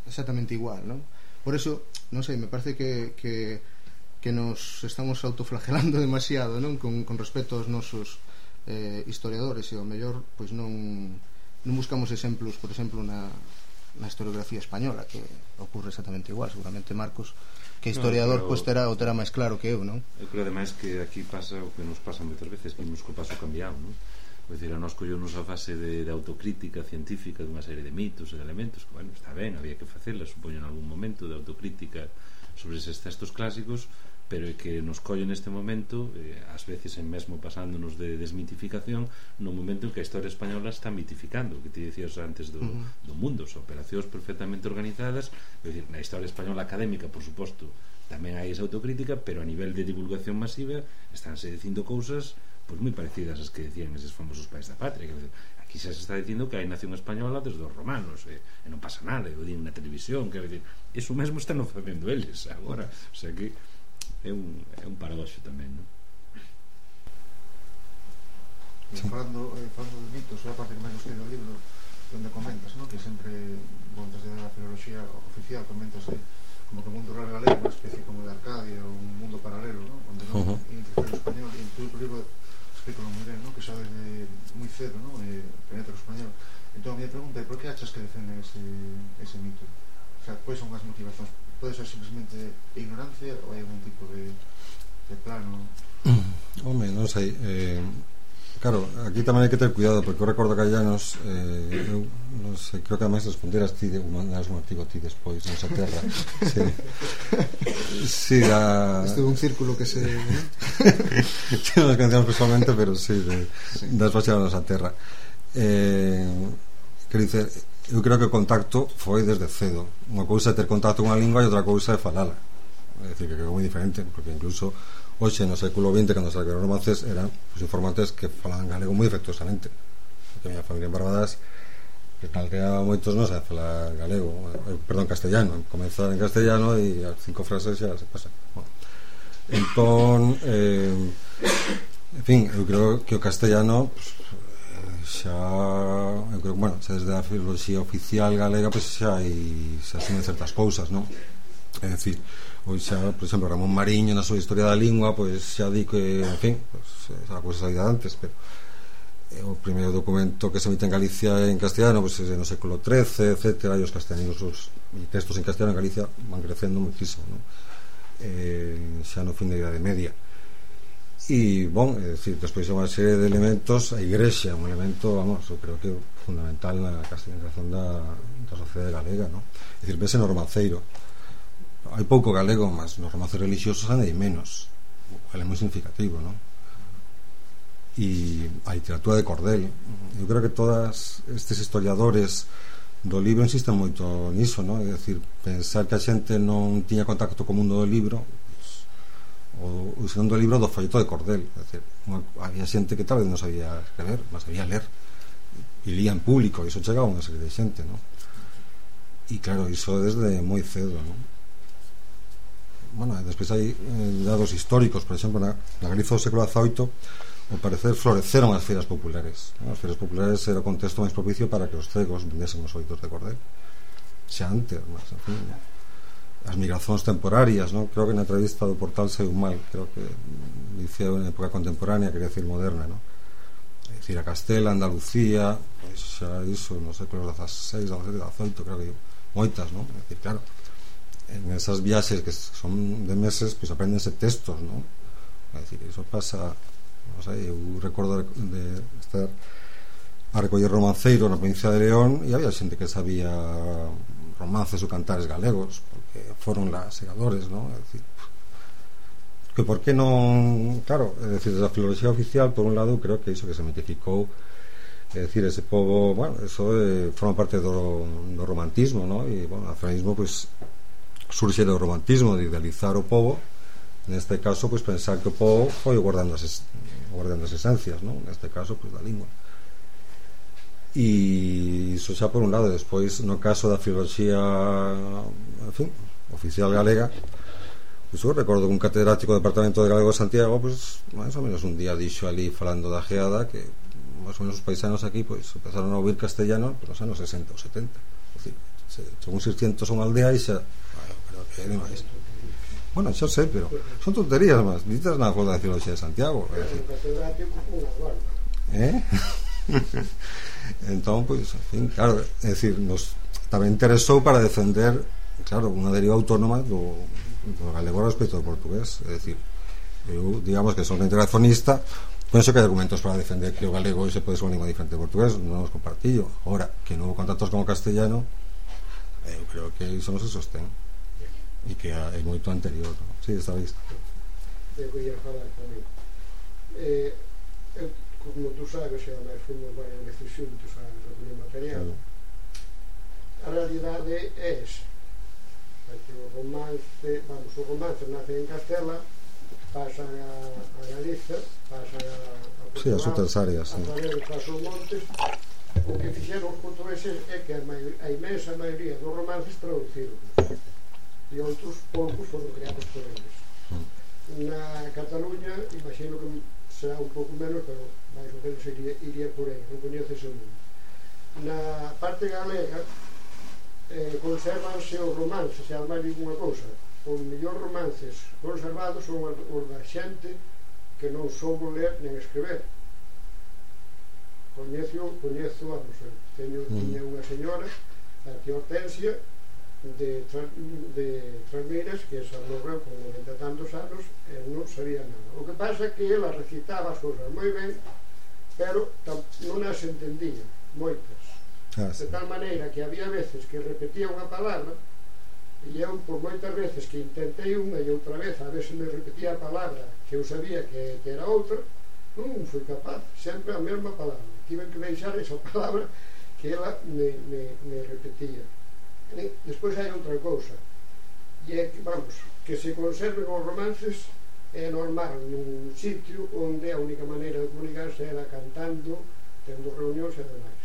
exactamente igual, non? Por eso, non sei, me parece que, que que nos estamos autoflagelando demasiado, non? Con, con respecto aos nosos eh, historiadores, e ao mellor pois non, non buscamos exemplos, por exemplo, na, na historiografía española, que ocurre exactamente igual. Seguramente Marcos, que historiador, no, pois terá, o terá máis claro que eu, non? Eu creo ademais que aquí pasa o que nos pasa moitas veces, que imos co paso cambiado, non? É dicir, a nos colleunos a fase de, de autocrítica científica dunha serie de mitos e de elementos que, bueno, está ben, había que facela, supoño, en algún momento, de autocrítica sobre eses textos clásicos, pero é que nos colle neste momento, eh, ás veces en mesmo pasándonos de desmitificación, no momento en que a historia española está mitificando, que te dicías antes do, uh-huh. do mundo, son operacións perfectamente organizadas. É dicir, na historia española académica, por suposto, tamén hai esa autocrítica, pero a nivel de divulgación masiva estánse dicindo cousas pois moi parecidas ás que decían eses famosos pais da patria. Aquí xa se está dicindo que hai nación española desde os romanos, e, e non pasa nada, e o din na televisión, quero dicir, eso mesmo están facendo eles agora, o sea que é un, é un paradoxo tamén, non? Sí. Falando, eh, falando de mitos, é a parte que máis gostei do libro, onde comentas, ¿no? Que sempre, bon, desde a filoloxía oficial, comentas eh, como que o mundo rural galego é unha especie como de Arcadia, un mundo paralelo, ¿no? Onde non uh-huh. integra o español, e en tu libro explico moi ben, ¿no? Que xa desde moi cedo, ¿no? Eh, penetra o español. Entón, a minha pregunta é, por que achas que defenden ese, ese mito? O sea, pois son as motivacións? Pode ser simplemente ignorancia ou hai algún tipo de, de plano? Home, non sei, eh, claro, aquí tamén hai que ter cuidado, porque eu recordo que Llanos, eh, eu non sei, creo que ademais responderas ti, mandas un artigo ti despois nesa terra. Sí, sí, a... Este é un círculo que se... non nos conocemos personalmente, pero sí, de, sí. das baixas nesa terra. Eh, quero dicer, eu creo que o contacto foi desde cedo. Unha cousa é ter contacto con a lingua e outra cousa é falala. É dicir, que é moi diferente, porque incluso hoxe no século vinte, cando se escribiron romances, eran os informantes que falaban galego moi efectuosamente. Porque a minha familia en Barbadas, que calquera moitos non sabe falar galego, eh, perdón, castellano, comenzar en castellano e as cinco frases xa se pasa. Bueno, entón, eh, en fin, eu creo que o castellano pues, xa, eu creo, bueno, xa desde a filoloxía oficial galega pois pues, xa hai, xa asumen certas cousas, non? É dicir, hoxe xa, por exemplo, Ramón Mariño na súa historia da lingua, pois pues, xa di que, en fin, pues, esa cousa sabida antes, pero o primeiro documento que se emite en Galicia en castellano, pois pues, no século trece, etcétera, e os castellanos, os e textos en castellano en Galicia van crecendo muchísimo, non? Eh, xa no fin da Idade Media. E, bon, é dicir, despois é unha serie de elementos. A igrexa é un elemento, vamos, eu creo que fundamental na castellanización da, da sociedade galega, non? É dicir, vese no romanceiro, hai pouco galego, mas nos romances religiosos hai menos, é moi significativo, non? E a literatura de cordel, eu creo que todos estes historiadores do libro insisten moito niso, non? É dicir, pensar que a xente non tiña contacto co mundo do libro, o usando o libro do folleto de cordel, é dicir, unha, había xente que tal vez non sabía escrever, mas sabía ler e lía en público, e iso chegaba a unha serie de xente, non? E claro, iso desde moi cedo, non? Bueno, despois hai eh, dados históricos, por exemplo, na, na Galiza do século dezaoito, ao parecer floreceron as feiras populares, non? As feiras populares era o contexto máis propicio para que os cegos vendesen os folletos de cordel, xa antes, mas en fin, non? As migracións temporarias, non? Creo que na entrevista do Portal saiu mal, creo que dicía en época contemporánea, quería decir moderna, non? É dicir, a Castela, Andalucía, pois xa iso nos séculos dezaseis, dezasete, dezaoito, creo que moitas, non? É dicir, claro, en esas viaxes que son de meses, pois aprendense textos, non? É dicir, iso pasa, non sei, eu recordo de estar a recoller romanceiro na provincia de León e había xente que sabía romances ou cantares galegos, porque foron lá segadores, non? É dicir, que por que non, claro, é dicir, desde a filoloxía oficial, por un lado, eu creo que iso que se mitificou, é dicir, ese pobo, bueno, eso eh, forma parte do, do romantismo, non? E, bueno, o nacionalismo, pois, surxe do romantismo, de idealizar o pobo, neste caso, pois, pensar que o pobo foi guardando as, guardando as esencias, non? Neste caso, pois, da lingua. E iso xa por un lado. Despois, no caso da filoloxía, en fin, oficial galega, pois eu recordo que un catedrático do Departamento de Galego de Santiago, pois, máis ou menos un día dixo ali falando da geada que máis ou menos os paisanos aquí pois empezaron a ouvir castellano nos anos sesenta ou setenta, é dicir, según seiscientos unha aldea e xa, bueno, pero que é demais. Bueno, xa sei, pero son tonterías máis, ditas na Facultade de Filoloxía de Santiago, é dicir, eh? Entón, pois, en fin, claro, é dicir, nos tamén interesou para defender, claro, unha deriva autónoma do, do galego respecto do portugués. É dicir, eu, digamos que son integracionista, penso que hai argumentos para defender que o galego se pode ser unha lingua diferente do portugués, non os compartillo. Agora, que non houve contactos con o castellano, eu creo que iso non se sostén e que é moito anterior, non? Si, sí, está visto. é o que ia falar tamén. Eh, eu, como tú sabes, e además fomos varias veces xuntos a recolher material, a realidade é esa. Porque o romance, vamos, o romance nace en Castela, pasan a, a Galiza, pasan a, a Portugal, sí, as outras áreas, a través de Pasos Montes. O que fixeron os portugueses é que a, maio, a imensa maioría dos romances traduciron e outros poucos foron creados por eles. Na Cataluña imagino que será un pouco menos, pero máis ou menos iría, iría por aí, non coñece ese mundo. Na parte galega eh, conservanse os romances, e ademais digo unha cousa, os mellores romances conservados son os da xente que non soubo ler nen escrever. Coñezo, coñezo, vamos, teño, mm. tiña unha señora, a tía Hortensia, de, de Trasmeiras, que esa morreu con noventa e tantos anos e non sabía nada. O que pasa é que ela recitaba as cousas moi ben, pero non as entendía, moitas. Ah, sí. De tal maneira que había veces que repetía unha palabra e eu, por moitas veces que intentei unha e outra vez a ver se me repetía a palabra que eu sabía que, que era outra, non fui capaz, sempre a mesma palabra. Tive que deixar esa palabra que ela me, me, me repetía. E despois hai outra cousa, e é que, vamos, que se conserven os romances é normal nun sitio onde a única maneira de comunicarse era cantando, tendo reunións e demais.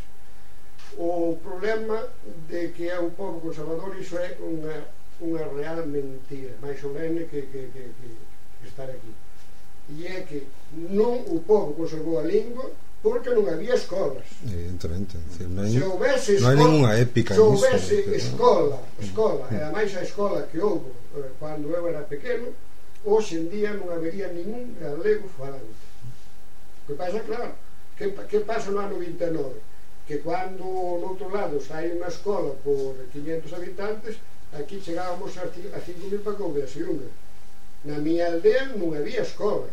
O problema de que é un pobo conservador, iso é unha, unha real mentira, máis solene que, que, que, que, que estar aquí. E é que non o pobo conservou a lingua porque non había escolas. Evidentemente, decir, non hai, se houvese non hai ninguna épica. Se houvese escola, escola, e ademais a escola que houve eh, cando eu era pequeno, hoxe en día non habería ningún galego falante. O que pasa, claro, que, que pasa no ano vinte e nove? Que cando no outro lado hai unha escola por quinhentos habitantes, aquí chegábamos a cinco mil para que houvese unha. Na miña aldea non había escola.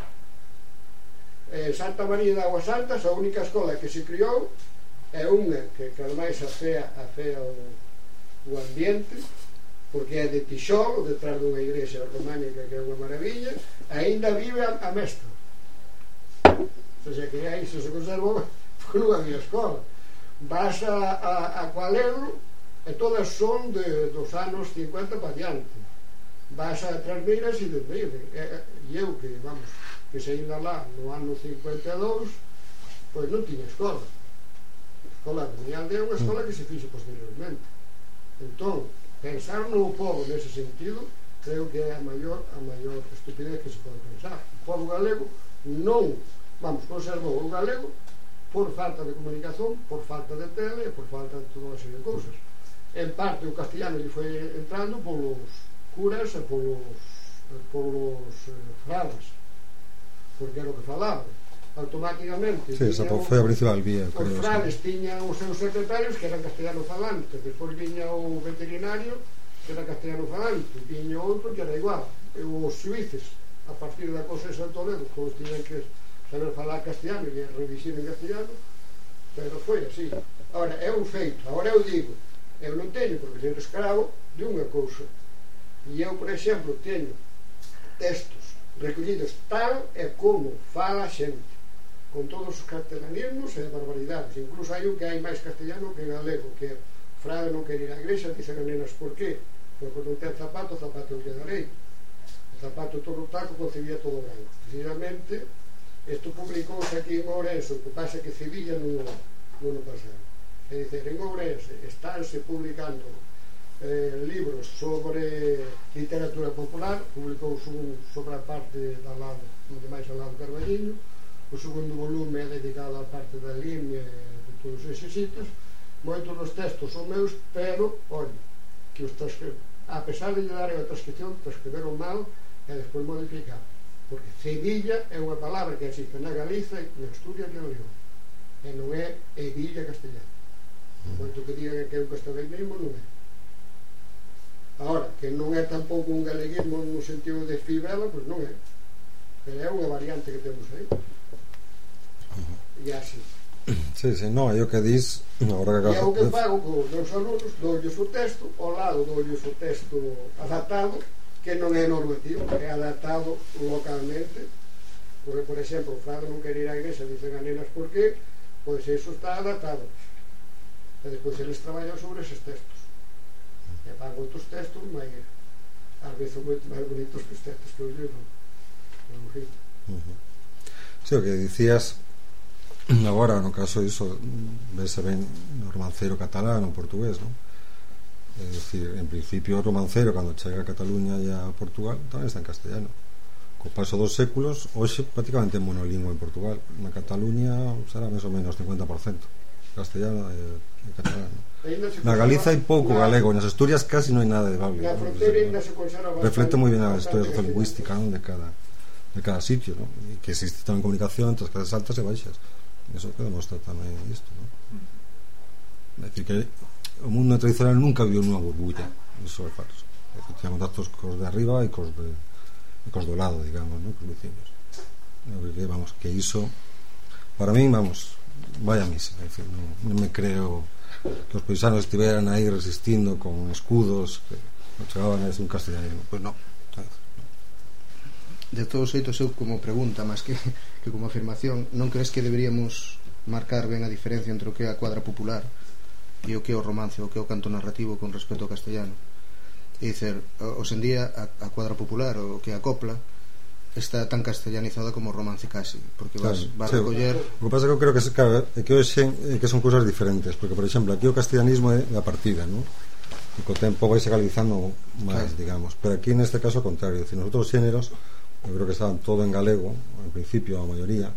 Eh, Santa María de Aguas Santas, a única escola que se criou é unha que, que ademais afea, afea o, o ambiente, porque é de tixolo, detrás dunha igrexa románica que é unha maravilla, aínda vive a, a mestra. O sea que aí se se conservou porque non había escola. Vas a, a, a Cualero e todas son de, dos anos cincuenta para diante. Vas a Trasmeiras e desde e eu que, vamos, que se ainda lá no ano cincuenta e dous, pois non tiña escola. A escola de miña aldea é unha escola que se fixo posteriormente. Entón, pensar no povo nese sentido creo que é a maior, a maior estupidez que se pode pensar. O povo galego non, vamos, conservou o galego por falta de comunicación, por falta de tele e por falta de toda unha serie de cousas. En parte o castellano lle foi entrando polos curas e polos, polos eh, fradas, porque era o que falaba automáticamente. Sí, esa foi a principal vía. Os frades tiñan os seus secretarios que eran castellano falantes, despois viña o veterinario que era castellano falante, viña outro que era igual, e os suíces a partir da cosa de Santo Ledo, todos tiñan que saber falar castellano e revisir en castellano, pero foi así. Ahora, é un feito, agora eu digo, eu non teño porque ser escravo de unha cousa, e eu, por exemplo, teño textos recollidos tal e como fala a xente, con todos os catalanismos e barbaridades. Incluso hai un que hai máis castellano que galego, que frade non quer ir á igrexa, dicen as nenas por qué, porque non ten zapato, zapato eu lle darei, o zapato todo o taco concebía todo branco. Precisamente isto publicouse aquí en Ourense, o que pasa que Sevilla non, non o pasaron. É dicir, en Ourense estánse publicando eh, libros sobre literatura popular, publicouse un sobre a parte da lado, de máis ao lado Carballiño, o segundo volume é dedicado á parte da línea de todos eses sitios. Moitos dos textos son meus, pero, olha, que os transcri... a pesar de lle dar a transcripción, transcriberon mal e despois modificaron, porque Sevilla é unha palabra que existe na Galiza e na Asturias e en León, e non é Evilla castellano. Moito que digan que é un castellanismo, non é. Agora, que non é tampouco un galeguismo no sentido de fibela, pois non é, pero é unha variante que temos aí. E así. Sí, sí, non, é o que dis agora que e é o que fago con os meus alumnos, doulles o texto, ao lado doulles o texto adaptado que non é normativo, é adaptado localmente. Porque, por exemplo, o Frado non quere ir á igrexa, dicen a nenas por qué, pois iso está adaptado. E despois eles traballan sobre eses textos e fan outros textos máis, ás veces moito máis bonitos que os textos que eu libro. Uh-huh. Si, o que dicías agora, no caso iso vese ben no romancero catalán ou portugués, non? É dicir, en principio o romancero cando chega a Cataluña e a Portugal tamén está en castellano. Co paso dos séculos hoxe prácticamente é monolingua en Portugal. Na Cataluña será máis ou menos cincuenta por cento castellano e, e catalán. Na Galiza hai pouco na, galego, nas Asturias casi non hai nada de galego. Na fronteira ainda se conserva bastante. Reflecte moi ben a historia sociolingüística, non, de cada de cada sitio, non? E que existe tamén comunicación entre as clases altas e baixas. Eso que demostra tamén isto, non? É dicir que o mundo tradicional nunca viviu nunha burbulla. Eso é falso. É dicir, tiñamos datos cos de arriba e cos de e cos do lado, digamos, non? Cos vecinos. Que, vamos, que iso para min, vamos, vaya misa. É dicir, non, non me creo que os paisanos estiveran aí resistindo con escudos que non chegaban a ese un castellanismo. Pois non. De todos xeitos, eu como pregunta máis que, que como afirmación, non crees que deberíamos marcar ben a diferencia entre o que é a cuadra popular e o que é o romance, o que é o canto narrativo con respecto ao castellano? É dicer, hoxendía a, a cuadra popular, o que é a copla, está tan castellanizada como o romance casi, porque vas, claro, vas sí, recoller. O que pasa é que eu creo que, claro, é que hoxe é que son cousas diferentes, porque por exemplo aquí o castellanismo é da partida, non? E co tempo vai se galizando máis, claro, digamos, pero aquí neste caso ao contrario, é dicir, nos outros xéneros eu creo que estaban todo en galego en principio a maioría,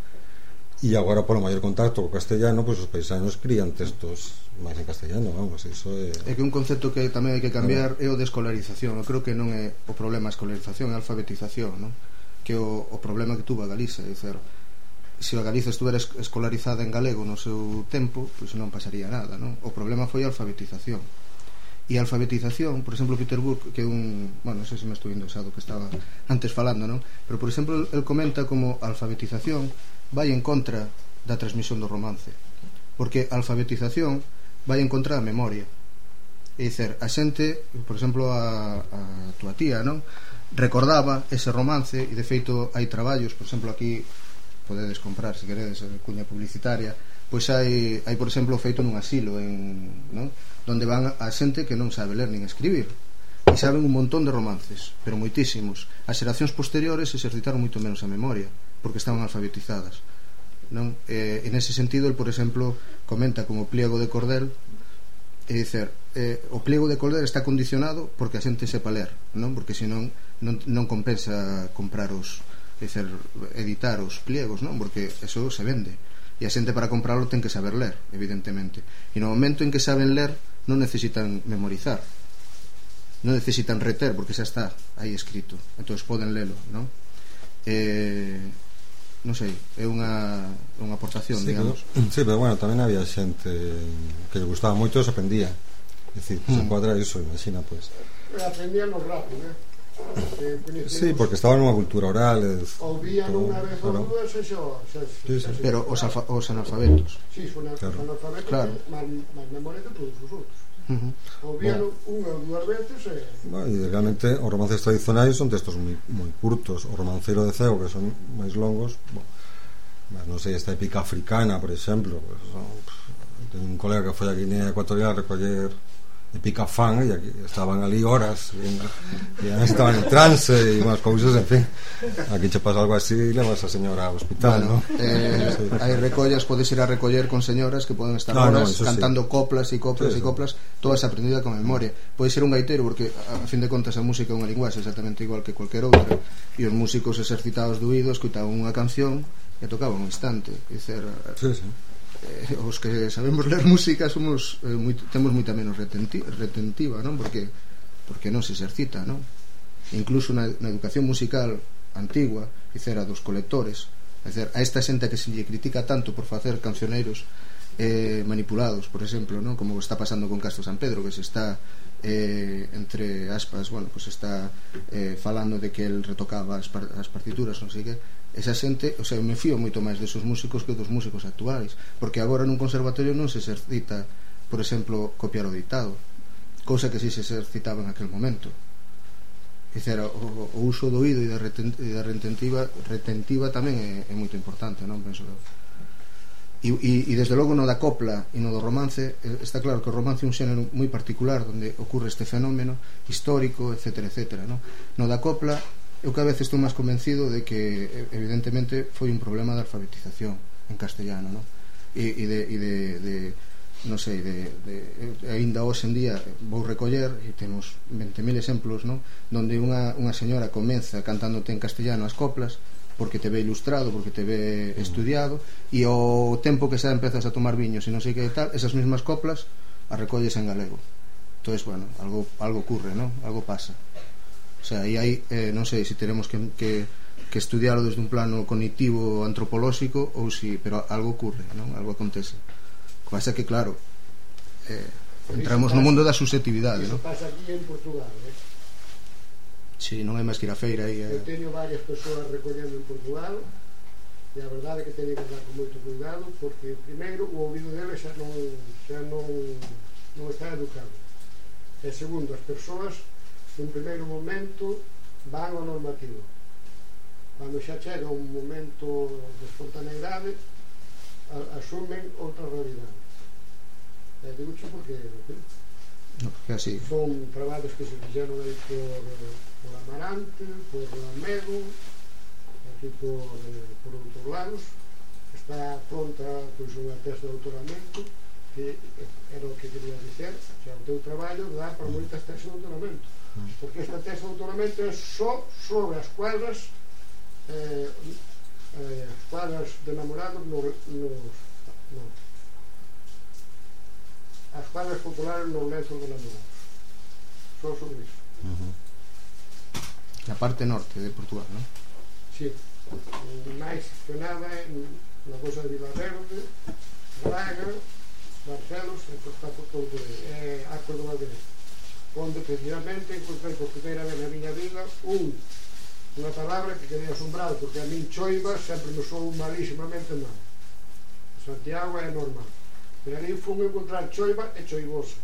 e agora polo maior contacto co castellano, pois pues, os paisanos crían textos máis en castellano, vamos, iso é... É que un concepto que tamén hai que cambiar é o de escolarización. Eu creo que non é o problema a escolarización, é a alfabetización, non? Que o, o problema que tuvo a Galiza, é dicer, se a Galiza estuvera escolarizada en galego no seu tempo, pois pues non pasaría nada, non? O problema foi a alfabetización. E a alfabetización, por exemplo, Peter Brook, que é un, bueno, non sei se me estou indo xa do que estaba antes falando, non? Pero por exemplo, el comenta como a alfabetización vai en contra da transmisión do romance, porque a alfabetización vai en contra da memoria. É dicer, a xente, por exemplo, a, a tua tía, non? Recordaba ese romance, e de feito hai traballos, por exemplo, aquí podedes comprar, se queredes, cuña publicitaria, pois hai, hai por exemplo, feito nun asilo en, non? Donde van a xente que non sabe ler nin escribir e saben un montón de romances, pero moitísimos. As xeracións posteriores exercitaron moito menos a memoria porque estaban alfabetizadas, non? E, en ese sentido, el, por exemplo, comenta como pliego de cordel, é dicer, eh, o pliego de cordel está condicionado porque a xente sepa ler, non? Porque senón non, non compensa comprar os, é dicer, editar os pliegos, non? Porque eso se vende e a xente para comprarlo ten que saber ler, evidentemente, e no momento en que saben ler non necesitan memorizar, non necesitan reter porque xa está aí escrito, entón poden lelo, non? Eh, non sei, é unha, unha aportación, sí, digamos. Pero, sí, pero bueno, tamén había xente que lle gustaba moito e se aprendía, é dicir, mm. se encuadra iso, imagina, pois pues. Aprendían los rápido, eh? Sí, porque estaba nunha cultura oral, ou vían unha vez ou dúas e xo, sí, sí. Pero os, alfa, os analfabetos, sí, son claro, analfabetos, claro, máis memoria que todos os outros. Uh-huh. Ou vían bueno. unha ou dúas veces e... Bueno, e realmente os romances tradicionais son textos moi, moi curtos. O romancero de Ceo, que son máis longos, bueno, non sei, esta épica africana, por exemplo, pues, son, ten un colega que foi a Guinea Ecuatorial a recoller épica fan, e aquí estaban ali horas e, e estaban en trance e unhas cousas, en fin, aquí che pasa algo así e levas a señora ao hospital, bueno, ¿no? eh, sí. Hai recollas, podes ir a recoller con señoras que poden estar no, horas no, cantando sí. coplas e coplas e sí, coplas, todas aprendida con memoria. Pode ser un gaitero, porque a fin de contas a música é unha linguaxe exactamente igual que cualquier outra, e os músicos exercitados do oído escoitaban unha canción e tocaban un instante, dicer, sí, sí. Eh, os que sabemos ler música somos eh, moi, temos moita menos retenti, retentiva, non? Porque porque non se exercita, non? Incluso na, na educación musical antigua, dicera dos colectores, dicer, a esta xente que se lle critica tanto por facer cancioneiros eh, manipulados, por exemplo, non? Como está pasando con Castro San Pedro, que se está eh, entre aspas, bueno, pues está eh, falando de que el retocaba as, par, as partituras, non sei que. Esa xente, o sea, eu me fío moito máis desos músicos que dos músicos actuais, porque agora nun conservatorio non se exercita, por exemplo, copiar o ditado, cousa que si se exercitaba en aquel momento. dicer, o, o uso do oído e da, reten, e da retentiva, retentiva tamén é, é moito importante, non? Penso eu. E, e, e desde logo no da copla e no do romance, está claro que o romance é un xénero moi particular onde ocurre este fenómeno histórico, etcétera, etcétera, no? No da copla eu cada vez estou máis convencido de que evidentemente foi un problema de alfabetización en castellano, no? E, e de, e de, de non sei, de, de, ainda hoxe en día vou recoller e temos veinte mil exemplos, no? Donde unha, unha señora comeza cantándote en castellano as coplas porque te ve ilustrado, porque te ve estudiado, e ao tempo que xa empezas a tomar viños e non sei que tal, esas mesmas coplas as recolles en galego. Entón, bueno, algo, algo ocurre, ¿no? Algo pasa. O sea, aí hai, eh, non sei se teremos que, que, que estudiarlo desde un plano cognitivo antropolóxico ou si, pero algo ocurre, ¿no? Algo acontece. O que pasa que, claro, eh, entramos no mundo da susceptibilidade, ¿no? Iso pasa aquí en Portugal, eh? Si, non é máis que ir a feira aí, eh. Eu teño varias persoas recollendo en Portugal e a verdade é que teño que andar con moito cuidado porque primeiro o ouvido deles xa non, xa non, non está educado e segundo, as persoas nun primeiro momento van ao normativo, cando xa chega un momento de espontaneidade asumen outra realidade e digo xe porque no, porque así son traballos que se fixeron aí por por Amarante, por Lamego, aquí por, eh, por outros lados. Está pronta pois, unha testa de doutoramento que era o que quería dizer, xa o teu traballo dá para moitas testas de doutoramento, porque esta testa de doutoramento é só sobre as cuadras eh, eh, as cuadras de namorados no, no, no, as cuadras populares nos lenzos de namorados, só sobre iso. Uh-huh. Na parte norte de Portugal, non? Si, máis que nada na cosa de Vilaverde, Braga, Barcelos, e está por todo por aí, é Arcos do Valverde, onde precisamente encontrei por primeira vez na miña vida un unha palabra que quedei asombrado, porque a min choiva sempre me sou malísimamente mal. Santiago é normal, pero ali fun a encontrar choiva e choivoso.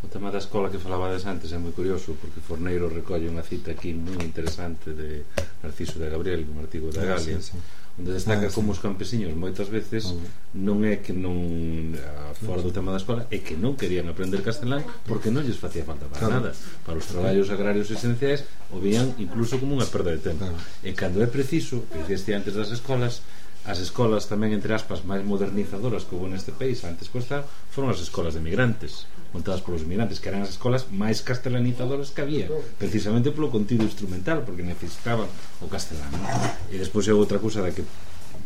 O tema da escola que falabades antes é moi curioso porque Forneiro recolle unha cita aquí moi interesante de Narciso de Gabriel, un artigo da Galia, sí, sí, onde destaca ah, sí. como os campesiños moitas veces ah, non é que non fora do tema da escola é que non querían aprender castelán porque non lles facía falta para claro. nada, para os traballos agrarios esenciais o vían incluso como unha perda de tempo, claro. E cando é preciso, que dixeste antes das escolas, as escolas tamén entre aspas máis modernizadoras que houve neste país antes costa foron as escolas de migrantes montadas polos migrantes, que eran as escolas máis castelanizadoras que había, precisamente polo contido instrumental, porque necesitaban o castelano. E despois é outra cousa da que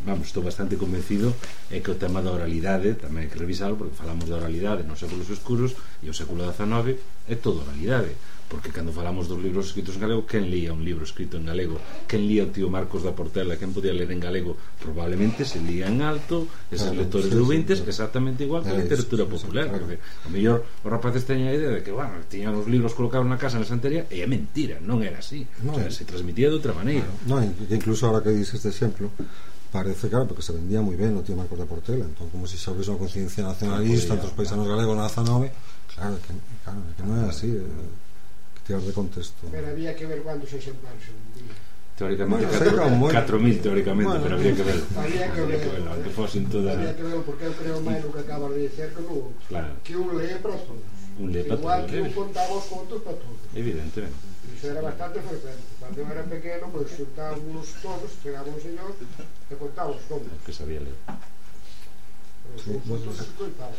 vamos, estou bastante convencido é que o tema da oralidade tamén hai que revisarlo, porque falamos da oralidade nos séculos escuros e o século dezanove é toda oralidade, porque cando falamos dos libros escritos en galego, quen lía un libro escrito en galego? Quen lía o tío Marcos da Portela? Quen podía ler en galego? Probablemente se lía en alto, esos claro, lectores sí, de ouvintes, sí, exactamente igual que a literatura popular, claro. Porque a mellor os rapaces teñen a idea de que, bueno, tiñan os libros colocados na casa na santería, e é mentira, non era así, no, o sea, se transmitía de outra maneira. No, incluso ahora que dices este exemplo, parece, claro, porque se vendía moi ben o tío Marcos da Portela, entón como se xa houvese unha conciencia nacionalista entre os paisanos galegos na dezanove, claro, que, claro, que non é así, eh, tirar de contexto. Pero había que ver cuántos exemplares se vendían. Teóricamente bueno, catro mil teóricamente, bueno, pero había que ver. Había que ver, aunque fosen toda... había que ver, porque eu creo máis no que acabas de dizer que no claro. Que un lee para todos. Un lee para igual todos. Que un contaba os contos para todos. Evidentemente. Iso era bastante frecuente. Cando eu era pequeno, pois pues, xuntábamos todos, chegaba un señor e contaba os contos. Que sabía ler. Os contos se contaba.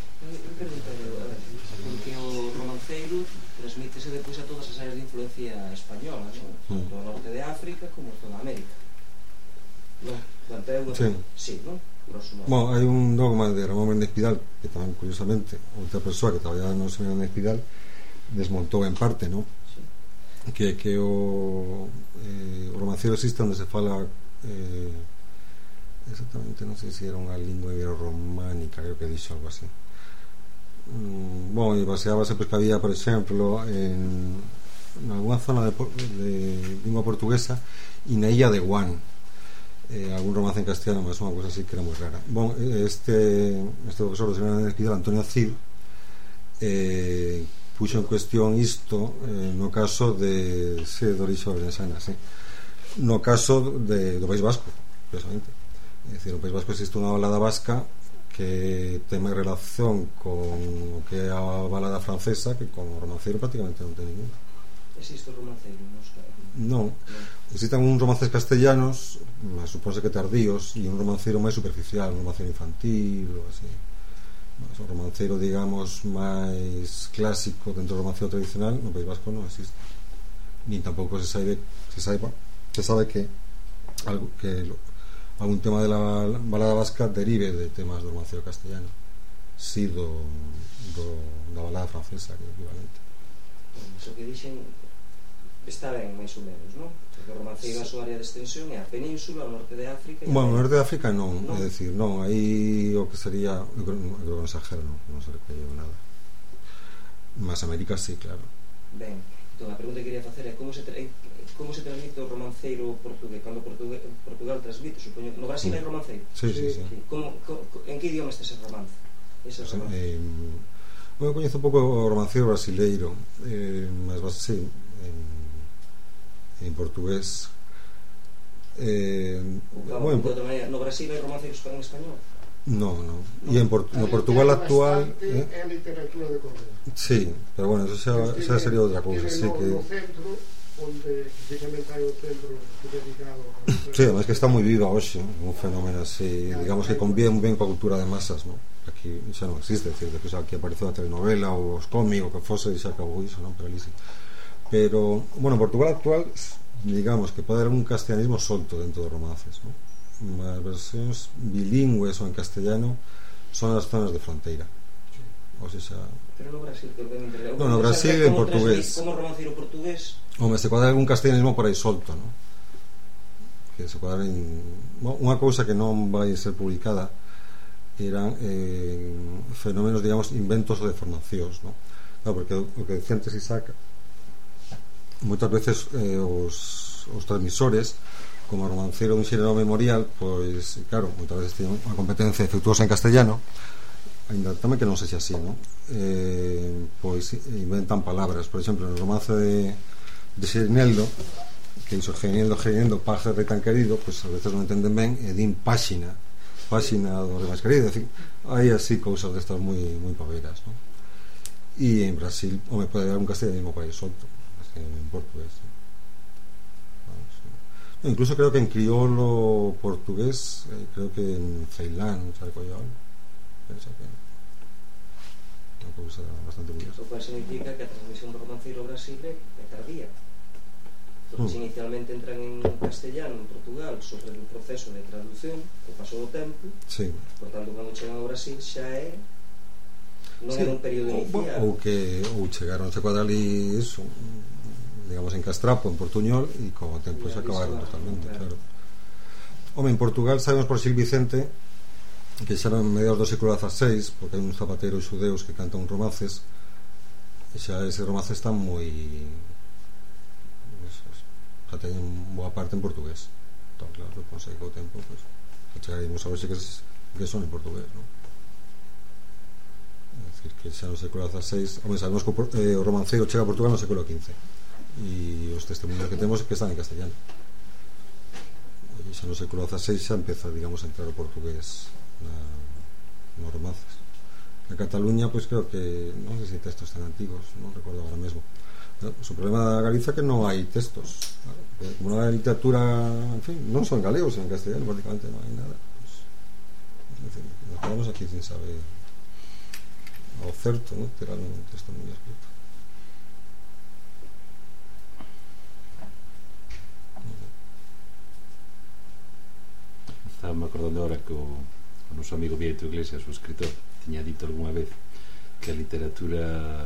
Porque o romanceiro transmítese depois a todas as áreas de influencia española, non? Tanto ao norte de África como a toda América. Non? Planteo, sí. Sí, non? Bueno, hai un dogma de Ramón Méndez Pidal que tamén, curiosamente, outra persoa que traballaba no señor Méndez Pidal desmontou en parte, non? Sí. Que, que o, eh, o romanceiro existe onde se fala eh, exactamente, non sei se era unha lingua ibero-románica, creo que dixo algo así. Mm, bueno, e baseábase pois que había, por exemplo, en, en alguna zona de, de lingua portuguesa e na illa de Guan eh, algún romance en castellano, mas unha cosa así que era moi rara. Bon, este, este profesor do señor Espidal, Antonio Cid, eh, puxo en cuestión isto eh, no caso de se de orixe ourensana, sí. No caso de, do País Vasco, precisamente. É dicir, no País Vasco existe unha balada vasca que ten máis relación con o que é a balada francesa que con o romanceiro prácticamente non ten ninguna. Existe o romanceiro, non? Non, existen uns romances castellanos, supónse que tardíos, e un romanceiro máis superficial, un romanceiro infantil ou así. O romanceiro, digamos, máis clásico dentro do romanceiro tradicional no País Vasco non existe, nin tampouco se sabe se saiba se sabe que algo que lo, algún tema de la balada vasca derive de temas do romanceiro castellano, si do, do da balada francesa, que é equivalente. Iso que dixen está ben, máis ou menos, non? Porque o romanceiro a súa área de extensión é a península, o norte de África. Bueno, o norte de África non, non, é dicir, non, aí o que sería, eu creo que non exagero, non, non se recuerdo nada. Mas América sí, claro. Ben, entón a pregunta que quería facer é como se tra... como se transmite o romanceiro portugués, cando Portugal, Portugal transmite, supoño, no Brasil hai romanceiro? Sí, sí, sí. sí. Como, como, en que idioma está ese romance? Ese romance? Eh, bueno, coñezo un pouco o romanceiro brasileiro, eh, mas sí, en en portugués eh, claro, bueno, por... manera, no Brasil hai romanceiros en español? No, no, no. E en Port no Portugal actual eh? é a literatura de correo. Sí, pero bueno, eso xa, xa sería outra cousa, sí, que no centro onde precisamente hai o centro dedicado a... Sí, además que está moi viva hoxe, un fenómeno así, digamos que convive ben coa cultura de masas, ¿no? Aquí xa non existe, decir, que aquí apareceu a telenovela ou os cómicos, o que fose, e xa acabou iso, non? Pero ali sí. Pero, bueno, en Portugal actual, digamos que pode haber un castellanismo solto dentro dos romances, ¿no? As versións bilingües ou en castellano son as zonas de fronteira. O sea, pero no Brasil, que ben interesante. No, no Brasil en portugués. Como romanceiro portugués? Home, se pode haber un castellanismo por aí solto, ¿no? Que se pode haber en... bueno, unha cousa que non vai ser publicada eran eh, fenómenos, digamos, inventos ou deformacións, ¿no? Claro, porque o que decía antes Isaac, moitas veces eh, os, os transmisores, como romanceiro dun xénero memorial, pois, claro, moitas veces teñen unha competencia defectuosa en castellano, ainda tamén que non sexa así, non? Eh, pois inventan palabras, por exemplo, no romance de, de Xerineldo, que iso Xerineldo, Xerineldo, paje de tan querido, pois a veces non entenden ben e din páxina, páxina do de máis querido, en fin, hai así cousas destas moi moi paveras, non? E en Brasil, home, pode haber un castellanismo por aí solto, en portugués, ¿sí? Vamos, sí. No, incluso creo que en criollo portugués, eh, creo que en Ceilán, ¿sabes cuál? Pensa que unha cousa bastante curiosa. Eso significa que a transmisión do romanceiro ao Brasil é tardía, porque mm. inicialmente entran en castellano en Portugal sobre o proceso de traducción o paso do tempo, sí. Por tanto, cando chegan ao Brasil xa é non sí. é un período inicial, ou que ou chegaron a cuadrar ali eso, digamos, en castrapo, en portuñol, e con o tempo se acabaron totalmente, claro. Home, en Portugal sabemos por Gil Vicente que xa eran mediados do século dieciséis, porque hai uns zapateiros xudeus que cantan romances, e xa ese romance está moi, xa teñen boa parte en portugués. Entón, claro, suponse que o tempo, pues, chegaremos a ver que, que son en portugués, non? É dicir, que xa no século dieciséis, home, sabemos que o, eh, o romanceiro chega a Portugal no século quince, e os testemunhos que temos que están en castellano, e xa no século dieciséis xa empeza, digamos, a entrar o portugués na, nos romances. En Cataluña, pois, pues, creo que non sei se textos tan antigos, non recordo agora mesmo. Pero, o problema da Galiza é que non hai textos, como non hai literatura, en fin, non son galegos, en castellano prácticamente non hai nada, pues, en fin, nos quedamos aquí sin saber ao certo, non? Terán un texto moi escrito. Estaba me acordando ahora que o, o noso amigo Vieito Iglesias, o escritor, tiña dito algunha vez que a literatura,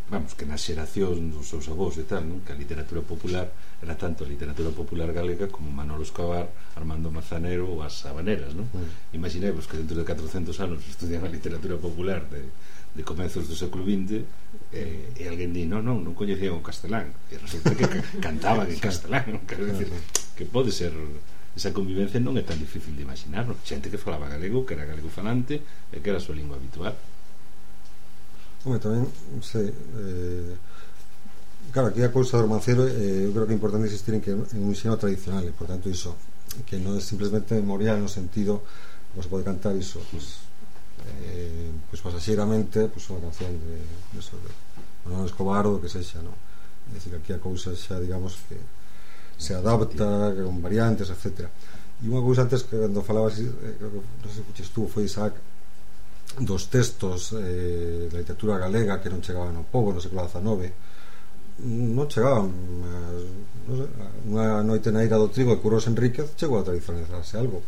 vamos, que na xeración dos seus avós e tal, non? Que a literatura popular era tanto a literatura popular galega como Manolo Escobar, Armando Manzanero ou as Habaneras, non? Mm. Imaginemos que dentro de catrocentos anos estudian a literatura popular de, de comezos do século vinte e, e alguén di, non, non, non coñecían o castelán, e resulta que cantaban en castelán, non? Quero decir, que pode ser, esa convivencia non é tan difícil de imaginar, non? Xente que falaba galego, que era galego falante e que era a súa lingua habitual. Home, tamén, non sei, eh, claro, aquí a cousa do romancero, eh, eu creo que é importante insistir en que é un xénero tradicional, e por tanto iso, que non é simplemente memorial no sentido, como se pode cantar iso, pues, eh, pues pasaxeiramente, pues unha canción de, de eso, de Manolo Escobar ou do que sexa, non? É dicir, aquí a cousa xa, digamos, que se adapta con variantes, etcétera. E unha cousa antes que cando falabas, eh, creo que non sei se fuches tú, foi Isaac, dos textos eh, da literatura galega que non chegaban ao pobo no século dezenove, non chegaban, mas, non sei, unha noite na ira do trigo de Curros Enríquez chegou a tradicionalizarse algo.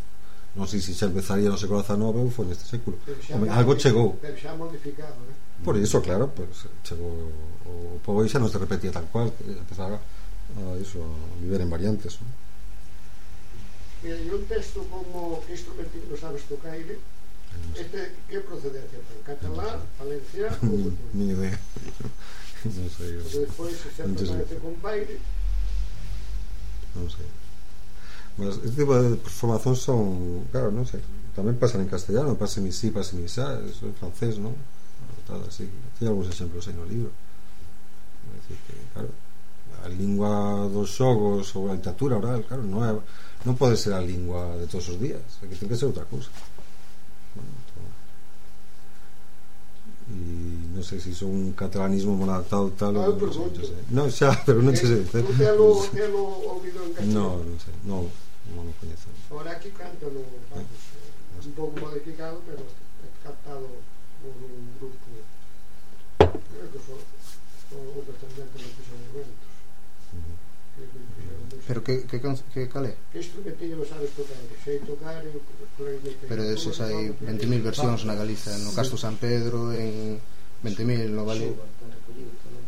Non sei se xa empezaría no século dezenove ou foi neste século. Home, algo chegou. Pero xa modificado, eh? Por iso, claro, pues, chegou o pobo e xa non se repetía tal cual, que empezaba a, iso, a viver en variantes, non? Mira, e un texto como que instrumentillo non sabes tocaire, este, que procedencia ten? Catalán, valenciano ou... Ni idea. Non sei. Porque despois se sempre parece con baile. Non sei. Mas este tipo de formación son, claro, non sei, tamén pasan en castellano, pasen ici, pasen isá, eso é francés, non? Así, ten algúns exemplos aí no libro. É dicir que, claro, a lingua dos xogos ou a literatura oral, claro, non é, non pode ser a lingua de todos os días, é que ten que ser outra cousa. Bueno, entón, e non sei se iso é un catalanismo monadaptado tal non, ou non sei, non, xa, pero non sei se non telo, telo ouvido en castellano. non, non sei, non, non o coñezo. Ahora aquí canto no, vamos, eh, un pouco modificado, pero captado por un grupo, creo que son os descendentes dos monumentos. Pero que, que, que calé? Que instrumentillo non sabes tocar? Sei tocar e clarinete. Pero deses hai vinte mil versións na Galiza, no Castro San Pedro, en vinte mil no Vale.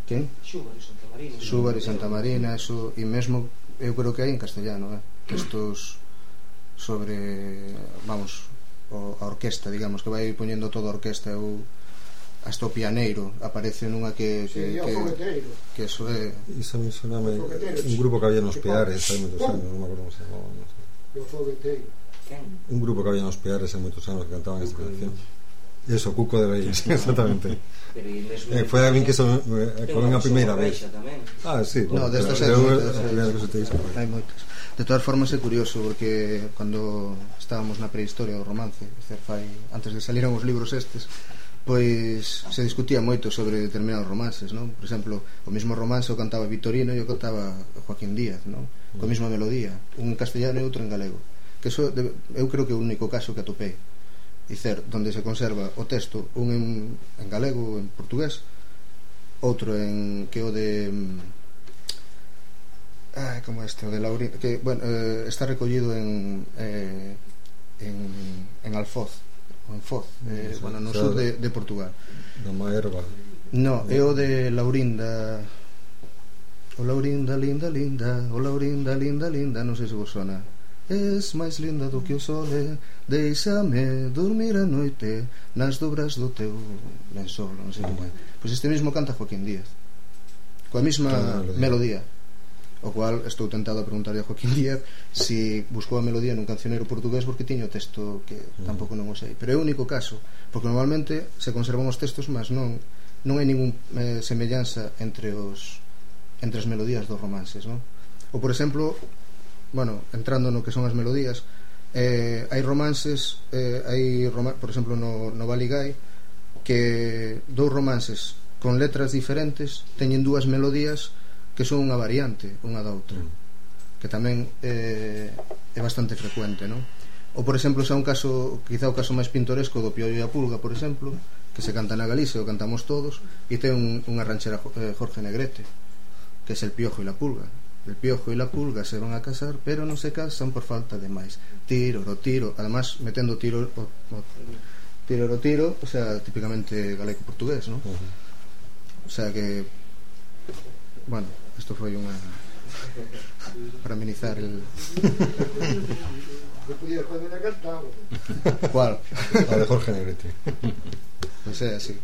Quen? Xúbar e Santa Marina. Xúbar e Santa Marina, eso, e mesmo eu creo que hai en castellano, eh? Textos sobre, vamos, o, a orquesta, digamos, que vai poñendo toda a orquesta, ou hasta o pianeiro aparece nunha que que, que, que, que, que eso é iso me soname un grupo que había nos Peares hai moitos anos, non me acordo como se chamaba, non sei. O fogueteiro. Un grupo que había nos Peares hai moitos anos que cantaban esta canción. Eso, Cuco de Reyes, exactamente. Pero eh, foi a min que son eh, con a primeira vez. Ah, sí. No, destas hai moitas. Hai moitas. De todas formas é curioso porque cando estábamos na prehistoria do romance, fai antes de saliran os libros estes, pois se discutía moito sobre determinados romances, non? Por exemplo, o mesmo romance o cantaba Vitorino e o cantaba Joaquín Díaz, non? Coa mesma melodía, un en castellano e outro en galego. Que eso eu creo que é o único caso que atopei. Dicer, donde se conserva o texto, un en, en galego, en portugués, outro en que o de ah, como este, o de Laurín, que bueno, eh, está recollido en eh, en, en Alfoz, en Foz, eh, sí, bueno, no sur de, de Portugal. Da Maerba. No, é o de Laurinda. O Laurinda, linda, linda. O Laurinda, linda, linda. Non sei se vos sona. Es máis linda do que o sole. Deixame dormir a noite nas dobras do teu lençol. Non sei como é. Pois este mesmo canta Joaquín Díaz, coa mesma melodía. O cual estou tentado a preguntarle a Joaquín Díaz si buscou a melodía nun cancioneiro portugués porque tiño o texto que tampouco non o sei. Pero é o único caso, porque normalmente se conservan os textos, mas non non hai ningún eh, semellanza entre os entre as melodías dos romances, non? Ou por exemplo, bueno, entrando no que son as melodías, eh, hai romances, eh, hai roma, por exemplo no, no Baligay, que dous romances con letras diferentes teñen dúas melodías que son unha variante unha da outra, mm. que tamén eh, é bastante frecuente, non? Ou por exemplo, xa un caso, quizá o caso máis pintoresco do Piollo e a Pulga, por exemplo, que se canta na Galicia, o cantamos todos, e ten un, unha ranchera eh, Jorge Negrete, que é El Piojo e la Pulga. El Piojo e la Pulga se van a casar, pero non se casan por falta de máis. Tiro, ro, tiro, además metendo tiro o, o, tiro, ro, tiro, o sea, típicamente galego-portugués, non? Uh-huh. O sea que, bueno, isto foi unha para amenizar el que podía poner a cantar. ¿Cuál? A de Jorge Negrete. Pois é así.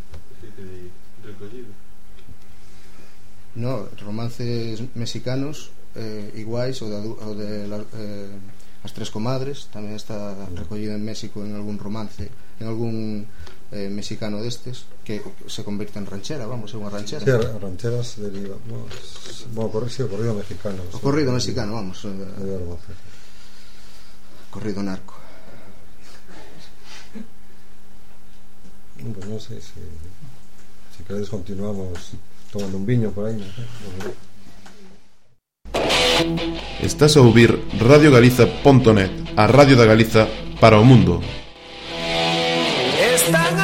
No, romances mexicanos eh, iguais o de, o de eh, As Tres Comadres, tamén está recollida en México en algún romance, en algún eh, mexicano destes, que se convirte en ranchera, vamos, é unha ranchera. Sí, a ranchera se deriva, bueno, bueno, corrido, sí, o corrido mexicano. O corrido mexicano, vamos. Eh, corrido narco. Pues non sei se se queredes continuamos tomando un viño por aí, non sei. Estás a ouvir radio galiza punto net, a radio da Galiza para o mundo. Están